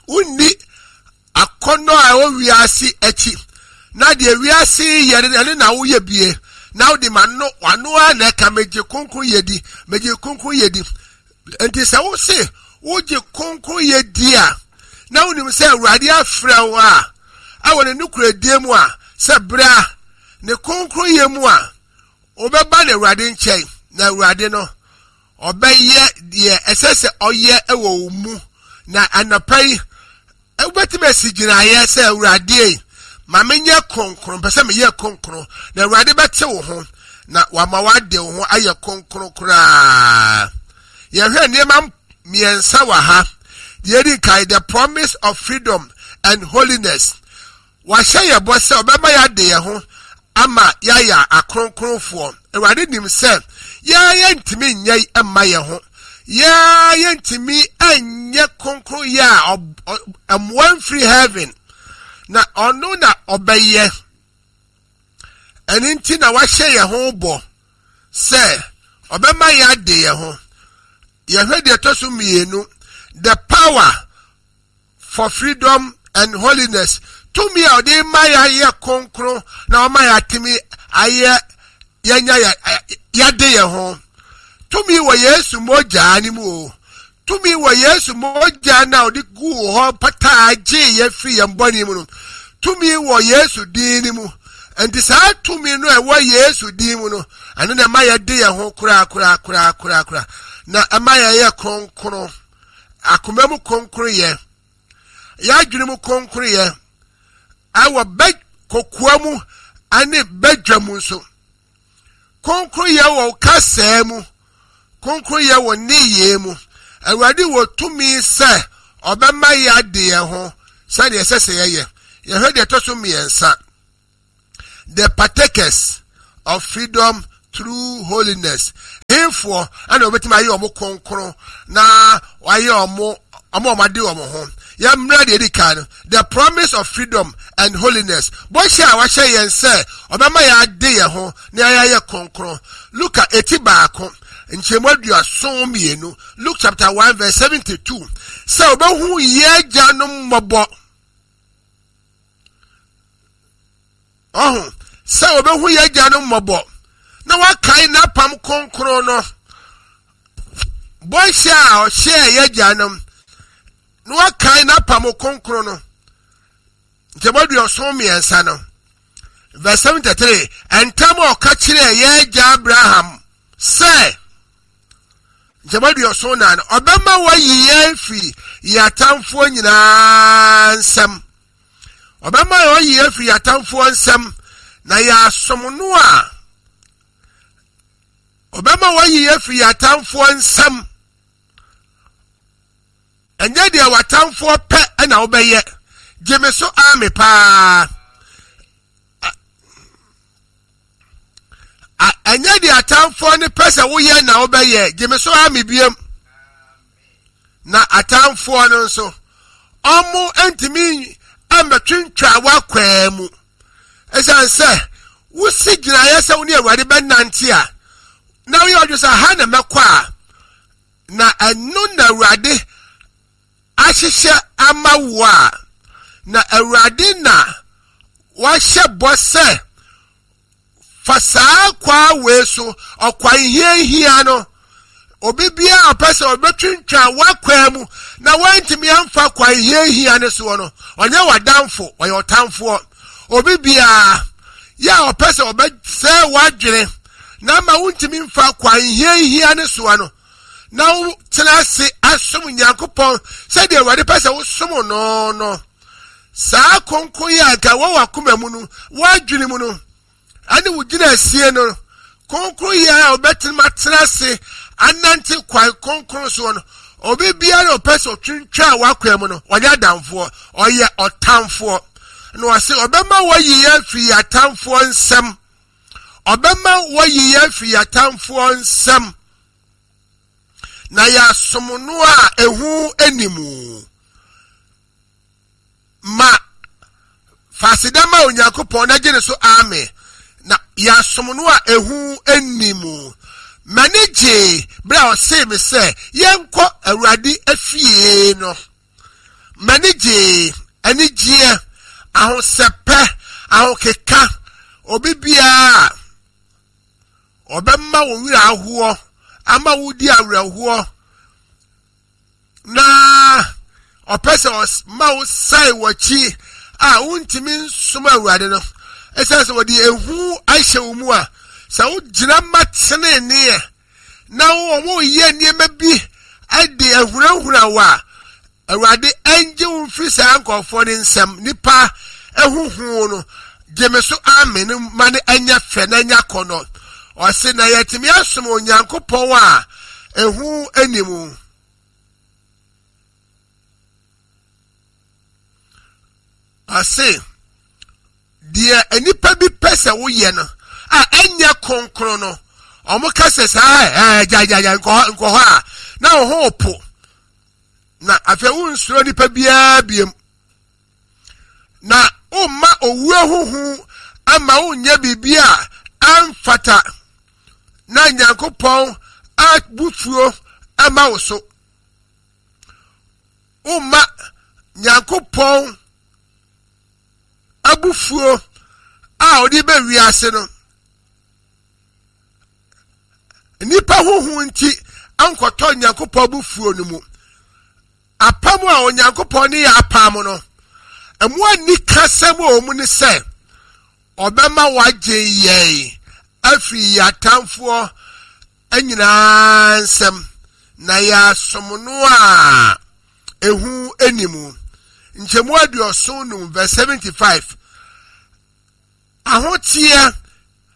Wonni akɔnnɔ a ɛwɔ wiase akyi, na deɛ wiase yɛ no, ɛno na woyɛ bie, na wode ma no wano a na ɛka megye kronkron yɛ di, megye kronkron yɛ di. Nti sɛ wose wogye kronkron yɛ di a, na wonim sɛ Awurade afrɛ wo a, ɛwɔ ne nokoradie mu a, sɛ bra ne kronkron yɛ mu a, wobɛba ne Awurade nkyɛn, na Awurade no ɔbɛyɛ deɛ ɛsɛ sɛ ɔyɛ ɛwɔ wo mu. Na anɔpa yi wobɛtumi asi gyinaeɛ sɛ Awurade ma menyɛ kronkron, pɛ sɛ meyɛ kronkron, na Awurade bɛte wo ho na wama wade wo ho ayɛ kronkron koraa. Yɛhwɛ nneɛma mmiɛnsa wɔ ha. Deɛ edi kan, the promise of freedom and holiness. Wahyɛ yɛ bɔ sɛ ɔbɛma yɛade yɛn ho ama yɛayɛ akronkronfoɔ. Awurade nim sɛ yɛn yɛntumi nyɛ mma yɛn ho, yɛn yɛntumi nyɛ kronkron yɛ a mmoa mfiri heaven, na ɔno na ɔbɛyɛ. Ɛno nti na wahyɛ yɛn ho bɔ sɛ ɔbɛma yɛade yɛn ho. Yɛhwɛ deɛ ɛtɔ so mmienu, the power for freedom and holiness. Tumi a ɔde ma yɛayɛ kronkron na ɔma yɛatumi ayɛ yɛnya yɛade yɛn ho. Tumi wɔ Yesu mogya no mu o. Tumi wɔ Yesu mogya no a ɔde guu hɔ pataa gyee yɛn firi yɛn bɔne mu no. Tumi wɔ Yesu din no mu. Nti saa tumi no a ɛwɔ Yesu din mu no, ɛno na ɛma yɛde yɛn ho koraa koraa koraa koraa koraa, na ɛma yɛyɛ kronkron. Akoma mu kronkron yɛ, yɛadwene mu kronkron yɛ, ɛwɔ bɛ kokoa mu ɛne bɛdwa mu nso. Kronkron yɛ wɔ kasaa mu, kronkron yɛ wɔ nneyɛɛ mu. Awurade wɔ tumi sɛ ɔbɛma yɛade yɛn ho sɛdeɛ ɛsɛ sɛ yɛyɛ. Yɛhwɛ deɛ ɛtɔ so mmiɛnsa, the partakers of freedom through holiness. Ɛhefoɔ ɛna wɔbɛtumi ayɛ wɔn kronkron na wɔayɛ wɔn wɔn a wɔade wɔn ho? Yɛmmra deɛ edi kan no, the promise of freedom and holiness, bɔhyɛ a wahyɛ yɛn sɛ ɔbɛma yɛade yɛn ho na yɛayɛ kronkron. Luka eti baako nkyɛmu aduason mmienu, Luke chapter one verse seventy two, sɛ ɔbɛhu yɛn agyanom mmɔbɔ. Ɔho sɛ ɔbɛhu yɛn agyanom mmɔbɔ na wakae n'apam kronkron no, bɔhyɛ a ɔhyɛɛ yɛn agyanom na wakae n'apam kronkron no. Nkyɛmu aduɔson mmiɛnsa no, verse seventy three, ntam a ɔka kyerɛɛ yɛn agya Abraham sɛ, nkyɛmu aduɔson nan, ɔbɛma wayi yɛn firi yɛn atamfoɔ nyinaa nsam. Ɔbɛma wayi yɛn firi yɛn atamfoɔ nsam na yɛasom no a, ɔbɛma wayi yɛn firi yɛn atamfoɔ nsam. Ɛnyɛ deɛ w'atamfoɔ pɛ ɛna wobɛyɛ. Gye me so ame paa. Ɛnyɛ deɛ atamfoɔ ne pɛ sɛ woyɛ na wobɛyɛ. Gye me so ame biem. Na atamfoɔ no nso, ɔmo ntumi mmɛtwintwa w'akwaa mu. Ɛsiane sɛ wosi gyinaeɛ sɛ wo ne Awurade bɛnante a, na woyɛ ɔdwe sɛ ha na mɛkɔ a, na ɛno na Awurade ahyehyɛ ama wo a, na Awurade na wahyɛ bɔ sɛ fa saa kwaa wei so, ɔkwan hiahia no, obi biara a ɔpɛ sɛ ɔbɛtwintwa w'akwaa mu na wantumi amfa kwan hiahia no soɔ no, ɔnyɛ w'adamfo, ɔyɛ ɔtamfoɔ. Obi biara yɛ a ɔpɛ sɛ ɔbɛsɛe w'adwene na ama wontumi mfa kwan hiahia no soɔ no, na wotena ase asom Nyankopɔn sɛdeɛ Awurade pɛ sɛ wosom no no, saa kronkron yi a nka ɛwɔ w'akoma mu no, w'adwene mu no, ɛne wo gyina asie no, kronkron yi a wobɛtena atena ase anante kwan kronkron soɔ no, obi biara a ɔpɛ sɛ ɔtwintwa w'akwan mu no, ɔnyɛ adamfoɔ, ɔyɛ ɔtamfoɔ. Na ɔse ɔbɛma wɔayi yɛn afiri yɛn atamfoɔ nsam. Ɔbɛma wɔayi yɛn afiri yɛn atamfoɔ nsam. Na yɛasom no a ehu anim. Ma faseda ma Onyankopɔn na gye ne so amen. Na yɛasom no a ehu anim. M'ani gyee bere a ɔsee me sɛ yɛnkɔ Awurade afie no. M'ani gyee, anigyeɛ, ahosɛpɛ, ahokeka, obi biara ɔbɛma wo werɛ ahoɔ, ama wo di awerɛhoɔ, na ɔpɛ sɛ ɔma wo sae w'akyi a wontumi nsom Awurade no. Ɛsiane sɛ wɔde ehu ahyɛ wo mu a, sɛ wogyina ma teneneɛ na wɔyɛ nneɛma bi de ahunahuna wo a, Awurade ɛngye wo mfiri saa nkurɔfoɔ ne nsam. Nipa ehuhu no, gye me so amen no ma no ɛnyɛ fɛ na ɛnyɛ akɔnnɔ. Ɔse na yɛtumi asom Onyankopɔn a ehu anim. Ɔse deɛ nipa bi pɛ sɛ woyɛ no a ɛnyɛ kronkron no, ɔmo ka sɛ saa ɛɛ gyagyagya nkɔ hɔ a, na wo ho po. Na afei wonsuro nipa biara biem. Na womma owuo huhu ama wonyɛ biribi a amfata na Nyankopɔn abufuo ama wo so. Womma Nyankopɔn abufuo a ɔde bɛ wiase no, nipa huhu nti ankɔtɔ Nyankopɔn abufuo no mu. Apam a Onyankopɔn ne yɛ apam no, ɛmu ani kasɛm a wɔn ne sɛ ɔbɛma wagye yɛn afiri yɛn atamfoɔ nyinaa nsam na yɛasom no a ehu anim. Nkyɛmu aduɔson num verse seventy five. Ahoteɛ,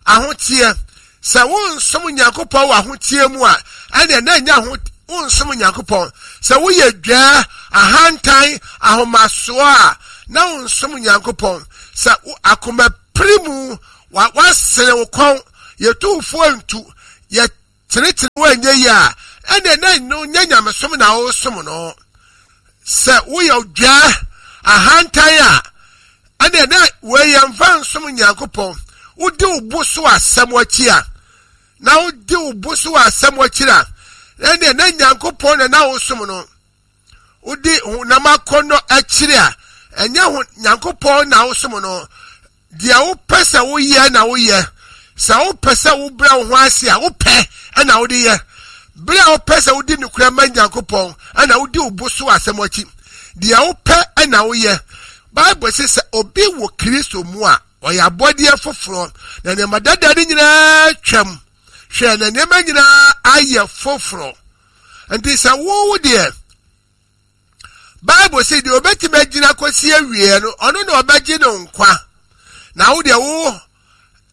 ahoteɛ. Sɛ wonsom Nyankopɔn wɔ ahoteɛ mu a, ɛnneɛ na ɛnyɛ aho, wonsom Nyankopɔn. Sɛ woyɛ dwaa, ahantan, ahomasoɔ a, na wonsom Nyankopɔn. Sɛ akoma pere mu, wa, wasene wo kɔn, yɛtu wo fo ntu, yɛ Tenetene woanyɛ yi a, ɛnna na no nyɛ nyamesom na wosom no. Sɛ woyɛ dwaa ahantan a, ɛnna na wɔyɛ mfa nsom Nyankopɔn. Wodi wo bo so asɛm akyi a, na wodi wo bo so asɛm akyi a, ɛnna na Nyankopɔn na na wosom no. Wodi honam akɔnnɔ akyiri a, ɛnyɛ ho Nyankopɔn na wosom no. Deɛ wopɛ sɛ woyɛ na woyɛ. Sɛ wopɛ sɛ wobrɛ wo ho ase a, wopɛ ɛna wode yɛ. Bere a wopɛ sɛ wodi nokorɛ ma Nyankopɔn ɛna wodi wo bo so asɛm akyi. Deɛ wopɛ ɛna woyɛ. Bible sɛ sɛ obi wɔ Kristo mu a, ɔyɛ abɔdeɛ foforɔ, na nneɛma dada no nyinaa twam. Hwɛ, na nneɛma nyinaa ayɛ foforɔ. Nti sɛ wo deɛ, Bible sɛ deɛ obɛtumi agyina kɔsi awie no, ɔno na ɔbɛgye no nkwa. Na wo deɛ wo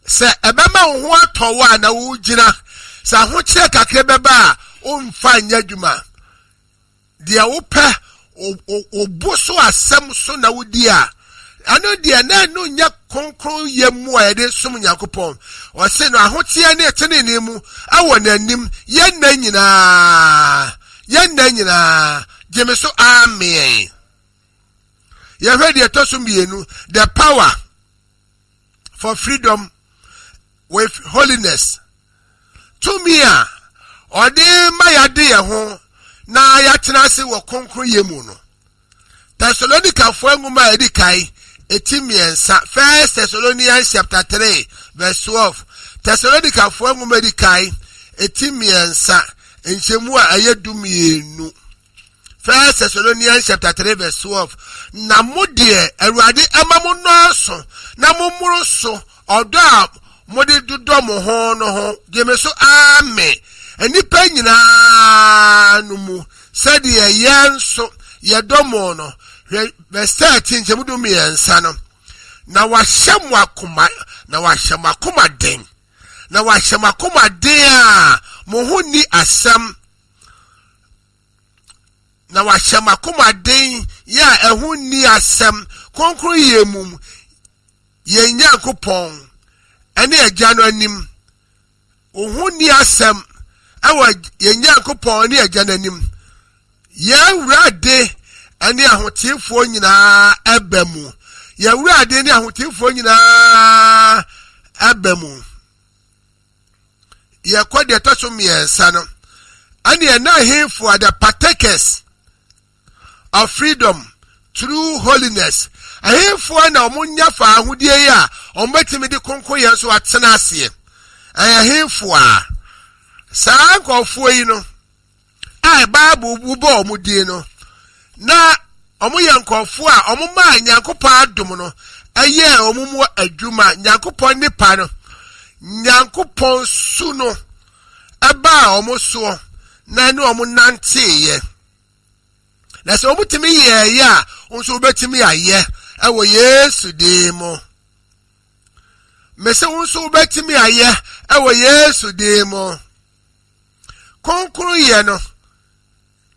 sɛ ɛbɛma wo ho atɔ wo a na wogyina, sɛ ahokyerɛ kakra bɛba a, womfa nyɛ adwuma. Deɛ wopɛ wo bo so asɛm so na wodi a, ɛno deɛ na ɛno nyɛ kronkron yɛ mu a yɛde som Nyankopɔn. Ɔse no ahoteɛ ne tenenee mu ɛwɔ n'anim yɛn nna nyinaa, yɛn nna nyinaa. Gye me so amen. Yɛhwɛ deɛ ɛtɔ so mmienu, the power for freedom with holiness. Tumi a ɔde ma yɛade yɛn ho na yɛatena ase wɔ kronkron yɛ mu no. Thessalonicafoɔ nwoma a ɛdi kan eti mmiɛnsa, First Thessalonians chapter three verse twelve. Thessalonicafoɔ nwoma a ɛdi kan eti mmiɛnsa nkyɛmu a ɛyɛ du mmienu. First Thessalonians chapter three verse twelve. Na mo deɛ, Awurade ɛma mo nnɔɔso na mo mmoro so ɔdɔ a mode dodɔ mo ho no ho. Gye me so amen. Nnipa nyinaa no mu sɛdeɛ yɛn nso yɛdɔ mo no. Hwɛ verse thirteen nkyɛmu du mmiɛnsa no. Na wahyɛ mo akoma, na wahyɛ mo akoma den. Na wahyɛ mo akoma den a mo ho nni asɛm. Na wahyɛ mo akoma den yɛ a ɛho nni asɛm. Kronkron yɛ mu yɛn Nyankopɔn ɛne Agya no anim. Wo ho nni asɛm ɛwɔ yɛn Nyankopɔn ne Agya no anim. Yɛn Wurade ɛne ahoteefoɔ nyinaa ɛba mu. Yɛn Wurade ne ahoteefoɔ nyinaa ɛba mu. Yɛkɔ deɛ ɛtɔ so mmiɛnsa no, ɛne ɛna ahemfo are the partakers of freedom through holiness. Ahemfo na wɔn nya fa ahodie yi a wɔn bɛtumi de kronkron yɛn so atena aseɛ. Ɛyɛ ahemfo a saa nkurɔfoɔ yi no a Bible bobɔ wɔn din no, na wɔn yɛ nkurɔfoɔ a wɔn maa Nyankopɔn adom no ɛyɛɛ wɔn mu adwuma. Nyankopɔn nipa no, Nyankopɔn su no ɛbaa wɔn soɔ na ɛne wɔn nanteeɛ. Na sɛ wɔn tumi yɛɛyɛ a, wɔn nso wɔbɛtumi ayɛ ɛwɔ Yesu din mu. Mese wɔn nso wɔbɛtumi ayɛ ɛwɔ Yesu din mu. Kronkron yɛ no,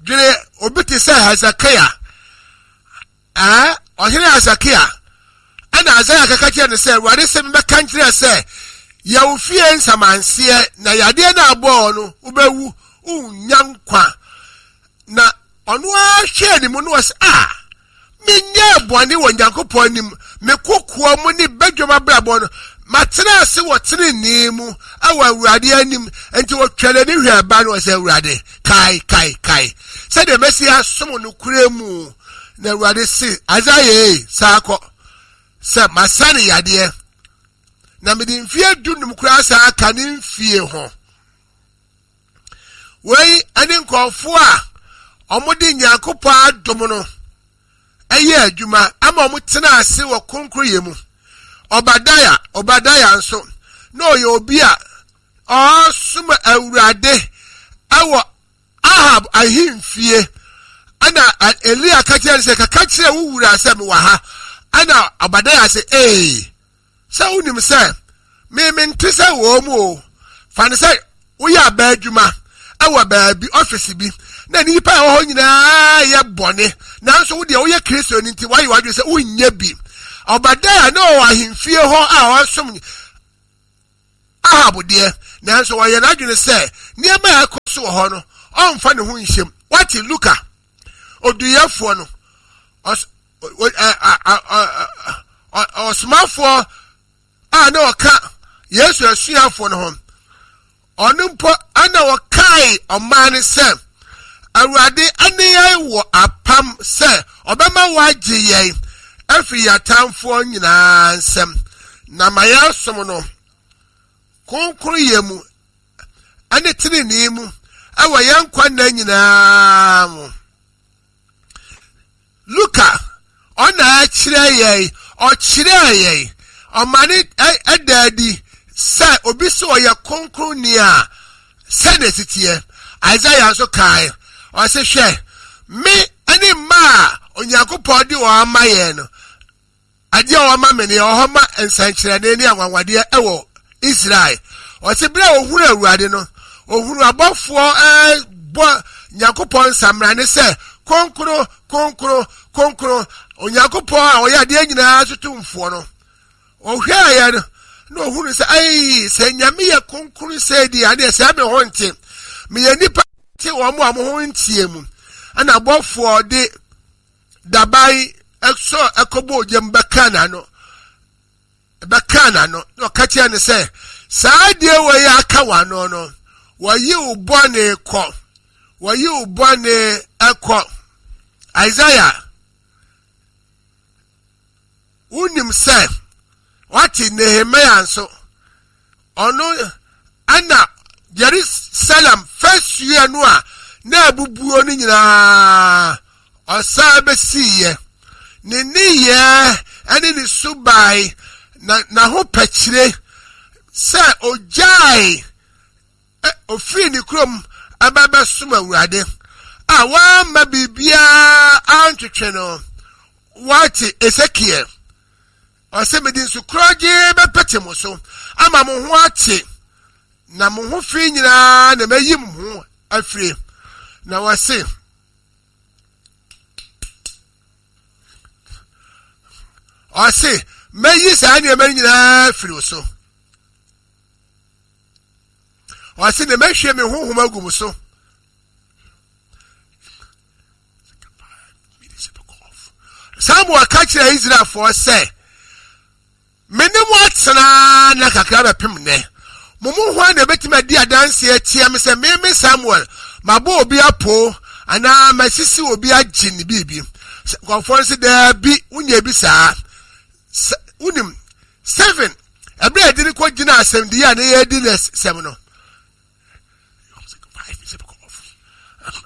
dwene obi te sɛ Hezekiah. Ɛɛ, ɔhene Hezekiah. Ɛna Isaiah kaka kyerɛ no sɛ, Awurade sɛ mebɛka nkyerɛ sɛ, yɛ wo fie nsamanseɛ na yadeɛ no abɔɔ no, wobɛwu, wonnya nkwa. Na ɔno ara hwɛɛ ne mu no ɔsɛ, a menyɛɛ bɔne wɔ Nyankopɔn anim, me kokoa mu ne badwam abrabɔ no, matena ase wɔ tenenee mu ɛwɔ Awurade anim. Nti wɔtwa n'ani hwɛ ɛba no, ɔsɛ, Awurade, kae, kae, kae sɛdeɛ mɛsi asom no kura mu. Na Awurade se, Isaiah, saa kɔ sɛ masa ne yadeɛ, na mede mfie dunum koraa saa aka ne mfie ho. Wei ɛne nkurɔfoɔ a wɔde Nyankopɔn adom no ɛyɛ adwuma ama wɔn tena ase wɔ kronkroyɛ mu. Obadiah, Obadiah nso na ɔyɛ obi a ɔsom Awurade ɛwɔ Ahab ahemfie. Ɛna Elia ka kyerɛ no sɛ, kaka kyerɛ wo wura sɛ mewɔ ha. Ɛna Obadiah sɛ, ee, sɛ wonim sɛ me mente sɛ wɔ mu o. Fa no sɛ woyɛ aba adwuma ɛwɔ baabi, ɔfisi bi, na nnipa a ɛwɔ hɔ nyinaa yɛ bɔne, nanso wo deɛ woyɛ Kristo no nti woayɛ w'adwene sɛ wonyɛ bi. Obadiah na ɔwɔ ahemfie hɔ a ɔsom Ahab deɛ, Nanso wɔyɛ n'adwene sɛ nneɛma a ɛkɔ so wɔ hɔ no, ɔmfa ne ho nhyɛm. Wate Luka, oduyɛfoɔ no, ɔsomafoɔ a na ɔka Yesu asuafoɔ no ho, ɔno mpo ana ɔkae ɔman no sɛ Awurade ne yɛn wɔ apam sɛ ɔbɛma wɔagye yɛn afiri yɛn atamfoɔ nyinaa nsam, na ma yɛasom no kronkronyɛ mu ne tenenee mu ɛwɔ yɛn nkwa nna nyinaa mu. Luka ɔna ɛkyerɛ yɛn, ɔkyerɛ yɛn, ɔma ne ɛda adi sɛ obi sɛ ɔyɛ kronkronni a sɛ na esi teɛ. Isaiah nso kae, ɔse hwɛ, me ne mma a Onyankopɔn de wɔn ama yɛn no, adeɛ a wɔama me no yɛ wɔ hɔ ma nsɛnkyerɛnne ne anwanwadeɛ ɛwɔ Israel. Ɔse bere a ohunu Awurade no, ohunu abɔfoɔ ɛbɔ Nyankopɔn nsamrane sɛ kronkron, kronkron, kronkron, Onyankopɔn a ɔyɛ adeɛ nyinaa so tumfoɔ no. Ɔhwɛeɛ no, na ohunu sɛ ayi sɛ Nyame yɛ kronkron sɛ di adeɛ sɛ me ho nte, meyɛ nipa te wɔn a mo ho ntie mu. Ɛna abɔfoɔ de daban ɛsɔ ɛkɔbɔ ogya mu bɛka n'ano, bɛka n'ano, na ɔka kyerɛ no sɛ saa adeɛ wɔ yi aka w'ano no, wɔyi wo bɔne kɔ, wɔyi wo bɔne ɛkɔ. Isaiah, wonim sɛ wate Nehemia nso, ɔno ɛna Jerusalem fasuo no a na abubuo no nyinaa ɔsan bɛsiiɛ. Ne nneyɛɛ ɛne ne subae na n'ahopɛkyerɛ sɛ ogyae ofiri ne kurom ɛbɛ bɛsom Awurade a wamma biribiara antwetwe no. Wate Ezekiel, ɔsɛ mede nsukorɔgye bɛpete mo so ama mo ho ate, na mo ho fi nyinaa na mayi mo ho afiri. Na wɔse ɔse mɛyi saa nneɛma no nyinaa afiri wo so. Ɔse na mɛhwie me honhom agu mo so. Samuel ka kyerɛ Israelfoɔ sɛ me ne mo atena na kakra bɛpem nnɛ. Mo mu hwan na ebetumi adi adanseɛ atia me sɛ me me Samuel mabɔ obi apo anaa masisi obi agye ne biribi? Nkurɔfoɔ no sɛ daabi, wonyɛ bi saa. Wonim seven ɛberɛ a yɛde no kɔ gyina asɛmdie a ne yɛdi ne sɛm no,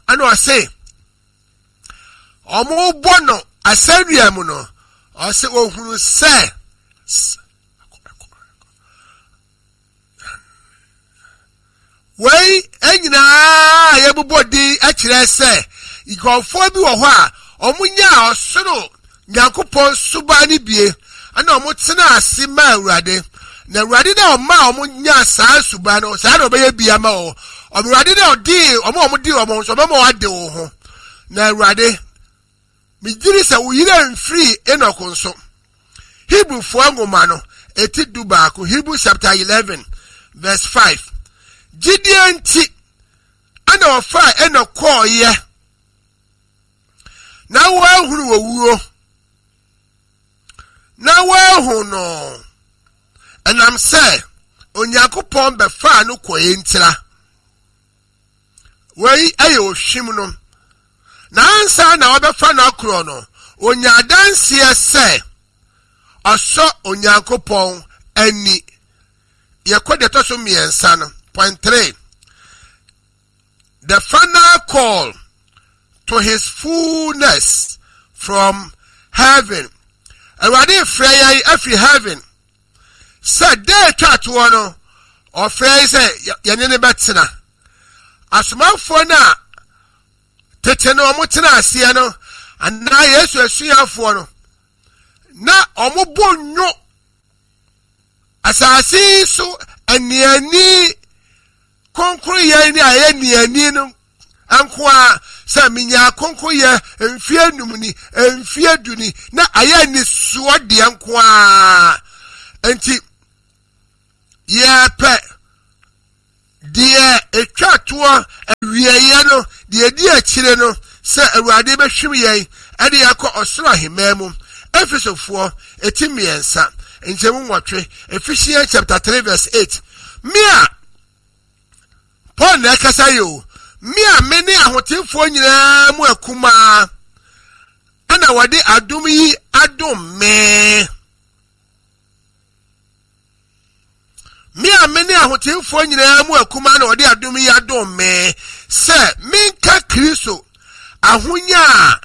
ɛna ɔse ɔmo bɔ no asɛnnua mu no, ɔse ohunu sɛ wei nyinaa yɛbobɔ din kyerɛ sɛ nkurɔfoɔ bi wɔ hɔ a ɔmo nyaa ɔsoro Nyankopɔn suban no bie, ɛna ɔmo tena ase ma Awurade. Na Awurade na ɔma ɔmo nyaa saa suban no, saa na ɔbɛyɛ bi ama wɔn. Awurade na ɔde ɔmo a ɔmo di ɔmo nso, ɔbɛma wɔade wo ho. Na Awurade, megyiri sɛ wo yere mfiri Enoch nso. Hebrewfoɔ nwoma no, eti du baako, Hebrew chapter eleven, verse five. Gyidie nti, ɛna ɔfaa Enoch kɔɔeɛ, na wɔahunu owuo, na wɔahu no, ɛnam sɛ Onyankopɔn bɛfaa no kɔɛ ntira. Wei ɛyɛ ohwim no. Na ansa na wɔbɛfa no akorɔ no, onya adanseɛ sɛ ɔsɔ Onyankopɔn ani. Yɛkɔ deɛ ɛtɔ so mmiɛnsa no, point three. The final call to his fullness from heaven. Awurade frɛ yɛn afiri heaven sɛ da atwa toɔ no, ɔfrɛ yɛn sɛ yɛne ne bɛtena. Asomafoɔ no a tete no ɔmo tena aseɛ no, anaa Yesu asuafoɔ no, na ɔmo bɔ nnwo asase so aniani kronkron ne a ɛyɛ niani no nko a, sɛ menya kronkron mfie num ni, mfie du ni, na ayɛ nisoɔ deɛ nko a. Nti yɛpɛ Deɛ ɛtwa toɔ awieeɛ no, deɛ ɛdi akyire no, sɛ Awurade bɛhwim yɛn ɛde yɛakɔ ɔsoro ahemman mu. Efesofoɔ eti mmiɛnsa nkyɛmu nwɔtwe, Ephesians chapter three verse eight. Me a Paul na ɛkasa yi o, me a me ne ahotefoɔ nyinaa mu akumaa, ɛna wɔde adom yi adom me. Me a me ne ahotefoɔ nyinaa mu akumaa na wɔde adom yi adom me sɛ menka Kristo ahonya a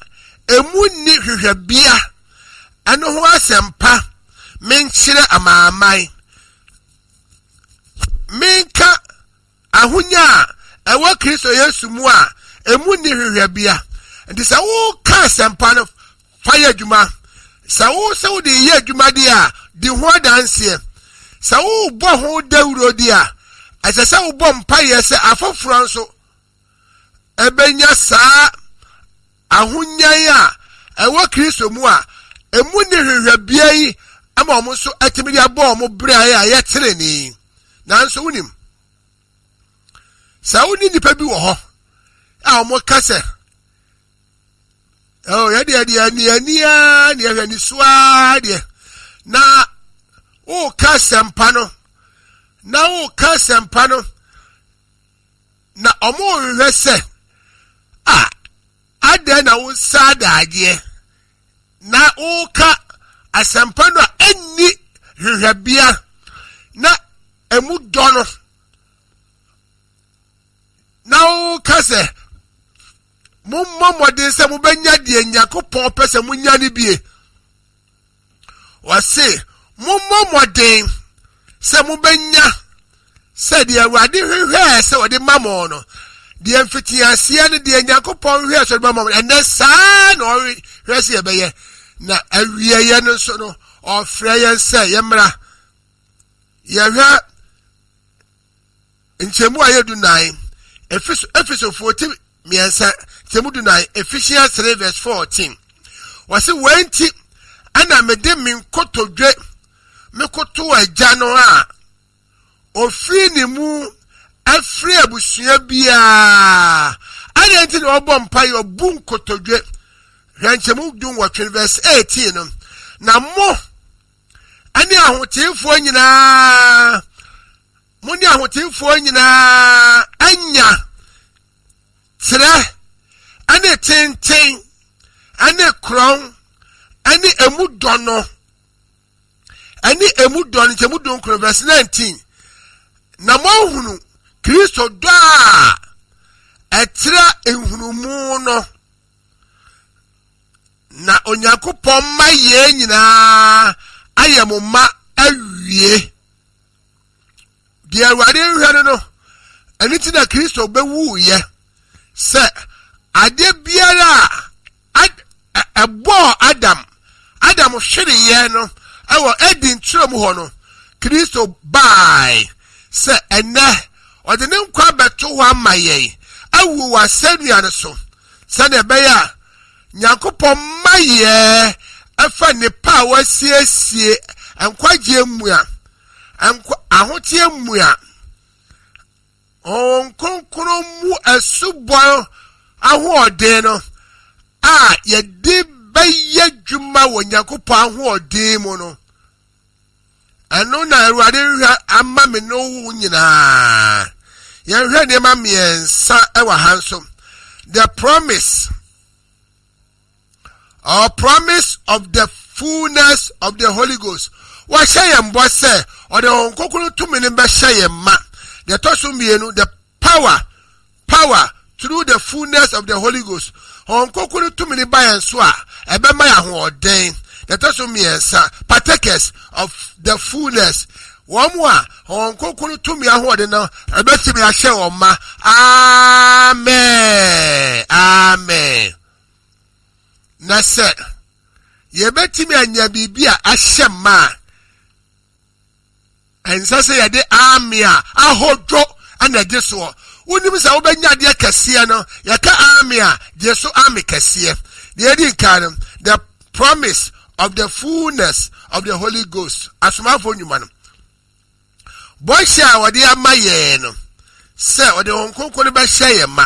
emu nni hwehwɛbea ɛno ho asɛmpa menkyerɛ amanaman. Menka ahonya a ɛwɔ Kristo Yesu mu a emu nni hwehwɛbea. Nti sɛ woka asɛmpa no, fa yɛ adwuma. Sɛ wo sɛ wode yɛ adwuma deɛ a, di ho adanseɛ. Sɛ wobɔ ho dawuro deɛ a, ɛsɛ sɛ wobɔ mpaeɛ sɛ afoforɔ nso ɛbɛnya saa ahonyan a ɛwɔ Kristo mu a emu nni hwehwɛbea yi ama wɔn nso atumi de abɔ wɔn bere a ɛyɛ tenenee. Nanso wonim, sɛ wo ne nnipa bi wɔ hɔ a wɔn ka sɛ, oh, yɛdeɛ deɛ ani ani ara deɛ hwɛ ani so ara deɛ, na woka asɛmpa no, na woka asɛmpa no, na wɔn rehwehwɛ sɛ, a, adɛn na wo nsa adagyeɛ na woka asɛmpa no a ɛnni hwehwɛbea na emu dɔ no, na woka sɛ mommɔ mmɔden sɛ mobɛnya deɛ Nyankopɔn pɛ sɛ monya no bie. Wɔse mommɔ mmɔden sɛ mobɛnya sɛ deɛ Awurade hwehwɛɛ sɛ ɔde ma mo no, deɛ mfitiaseɛ no deɛ Nyankopɔn hwehwɛɛ sɛ ɔde ma mo no, ɛnɛ saa na ɔhwehwɛ sɛ yɛbɛyɛ. Na awieeɛ no nso no, ɔfrɛ yɛn sɛ yɛmmra. Yɛhwɛ nkyɛmu a yɛ du nan, Efesofoɔ ti mmiɛnsa nkyɛmu du nan, Ephesians three verse fourteen. Wɔsi wɔn nti ɛna mede me nkotodwe mekoto Agya no a ofiri ne mu afiri abusua biara. Adɛn nti na ɔbɔ mpaeɛ ɔbu nkotodwe? Hwɛ nkyɛmu du nwɔtwe verse eighteen no. Na mo ɛne ahoteefoɔ nyinaa, mo ne ahoteefoɔ nyinaa anya trɛ ɛne tenten ɛne korɔn ɛne emu dɔ no, ɛne emu dɔ no, nkyɛmu du nkron verse nineteen. Na moahunu Kristo dɔ a ɛtrɛ nhunumu no, na Onyankopɔn mma yɛn nyinaa ayɛ mo mma awie. Deɛ Awurade hwɛ no no, ɛno nti na Kristo bɛwuiɛ sɛ adeɛ biara a ɛbɔɔ Adam, Adam hwereeɛ no ɛwɔ Eden turo mu hɔ no, Kristo bae sɛ ɛnɛ ɔde ne nkwa bɛto hɔ ama yɛn, awu wɔ asɛnnua no so, sɛdeɛ ɛbɛyɛ a Nyankopɔn mma yɛn ɛfa nnepa a wasiesie nkwagyeɛ mu a, ahoteɛ mu a, Honhom Kronkron mu asubɔ ahoɔden no a yɛde bɛyɛ dwuma wɔ Nyankopɔn ahoɔden mu no, ɛno na Awurade hwɛ ama me ne wo nyinaa. Yɛnhwɛ nneɛma mmiɛnsa ɛwɔ ha nso. The promise or promise of the fullness of the Holy Ghost. Wɔahyɛ yɛn bɔ sɛ ɔde Honhom Kronkron tumi no bɛhyɛ yɛn ma. Deɛ ɛtɔ so mmienu, the power, power through the fullness of the Holy Ghost. Honhom Kronkron tumi no ba yɛn so a, ɛbɛma yɛn ahoɔden. Deɛ ɛtɔ so mmiɛnsa, partakers of the fullness. Wɔn a Honhom Kronkron tumi ahoɔden no ɛbɛtumi ahyɛ wɔn ma. Amen. Amen. Na sɛ yɛbɛtumi anya biribi a ahyɛ ma a, ɛnsɛ sɛ yɛde ame a ahodwo ɛna ɛgye soɔ. Wonim sɛ wobɛnya adeɛ kɛseɛ no, yɛka ame a, gye so ame kɛseɛ. Deɛ ɛdi nkan no, the promise of the fullness of the Holy Ghost. Asomafoɔ nnwuma no, bɔhyɛ a wɔde ama yɛn no, Sɛ ɔde Honhom Kronkron no bɛhyɛ yɛn ma.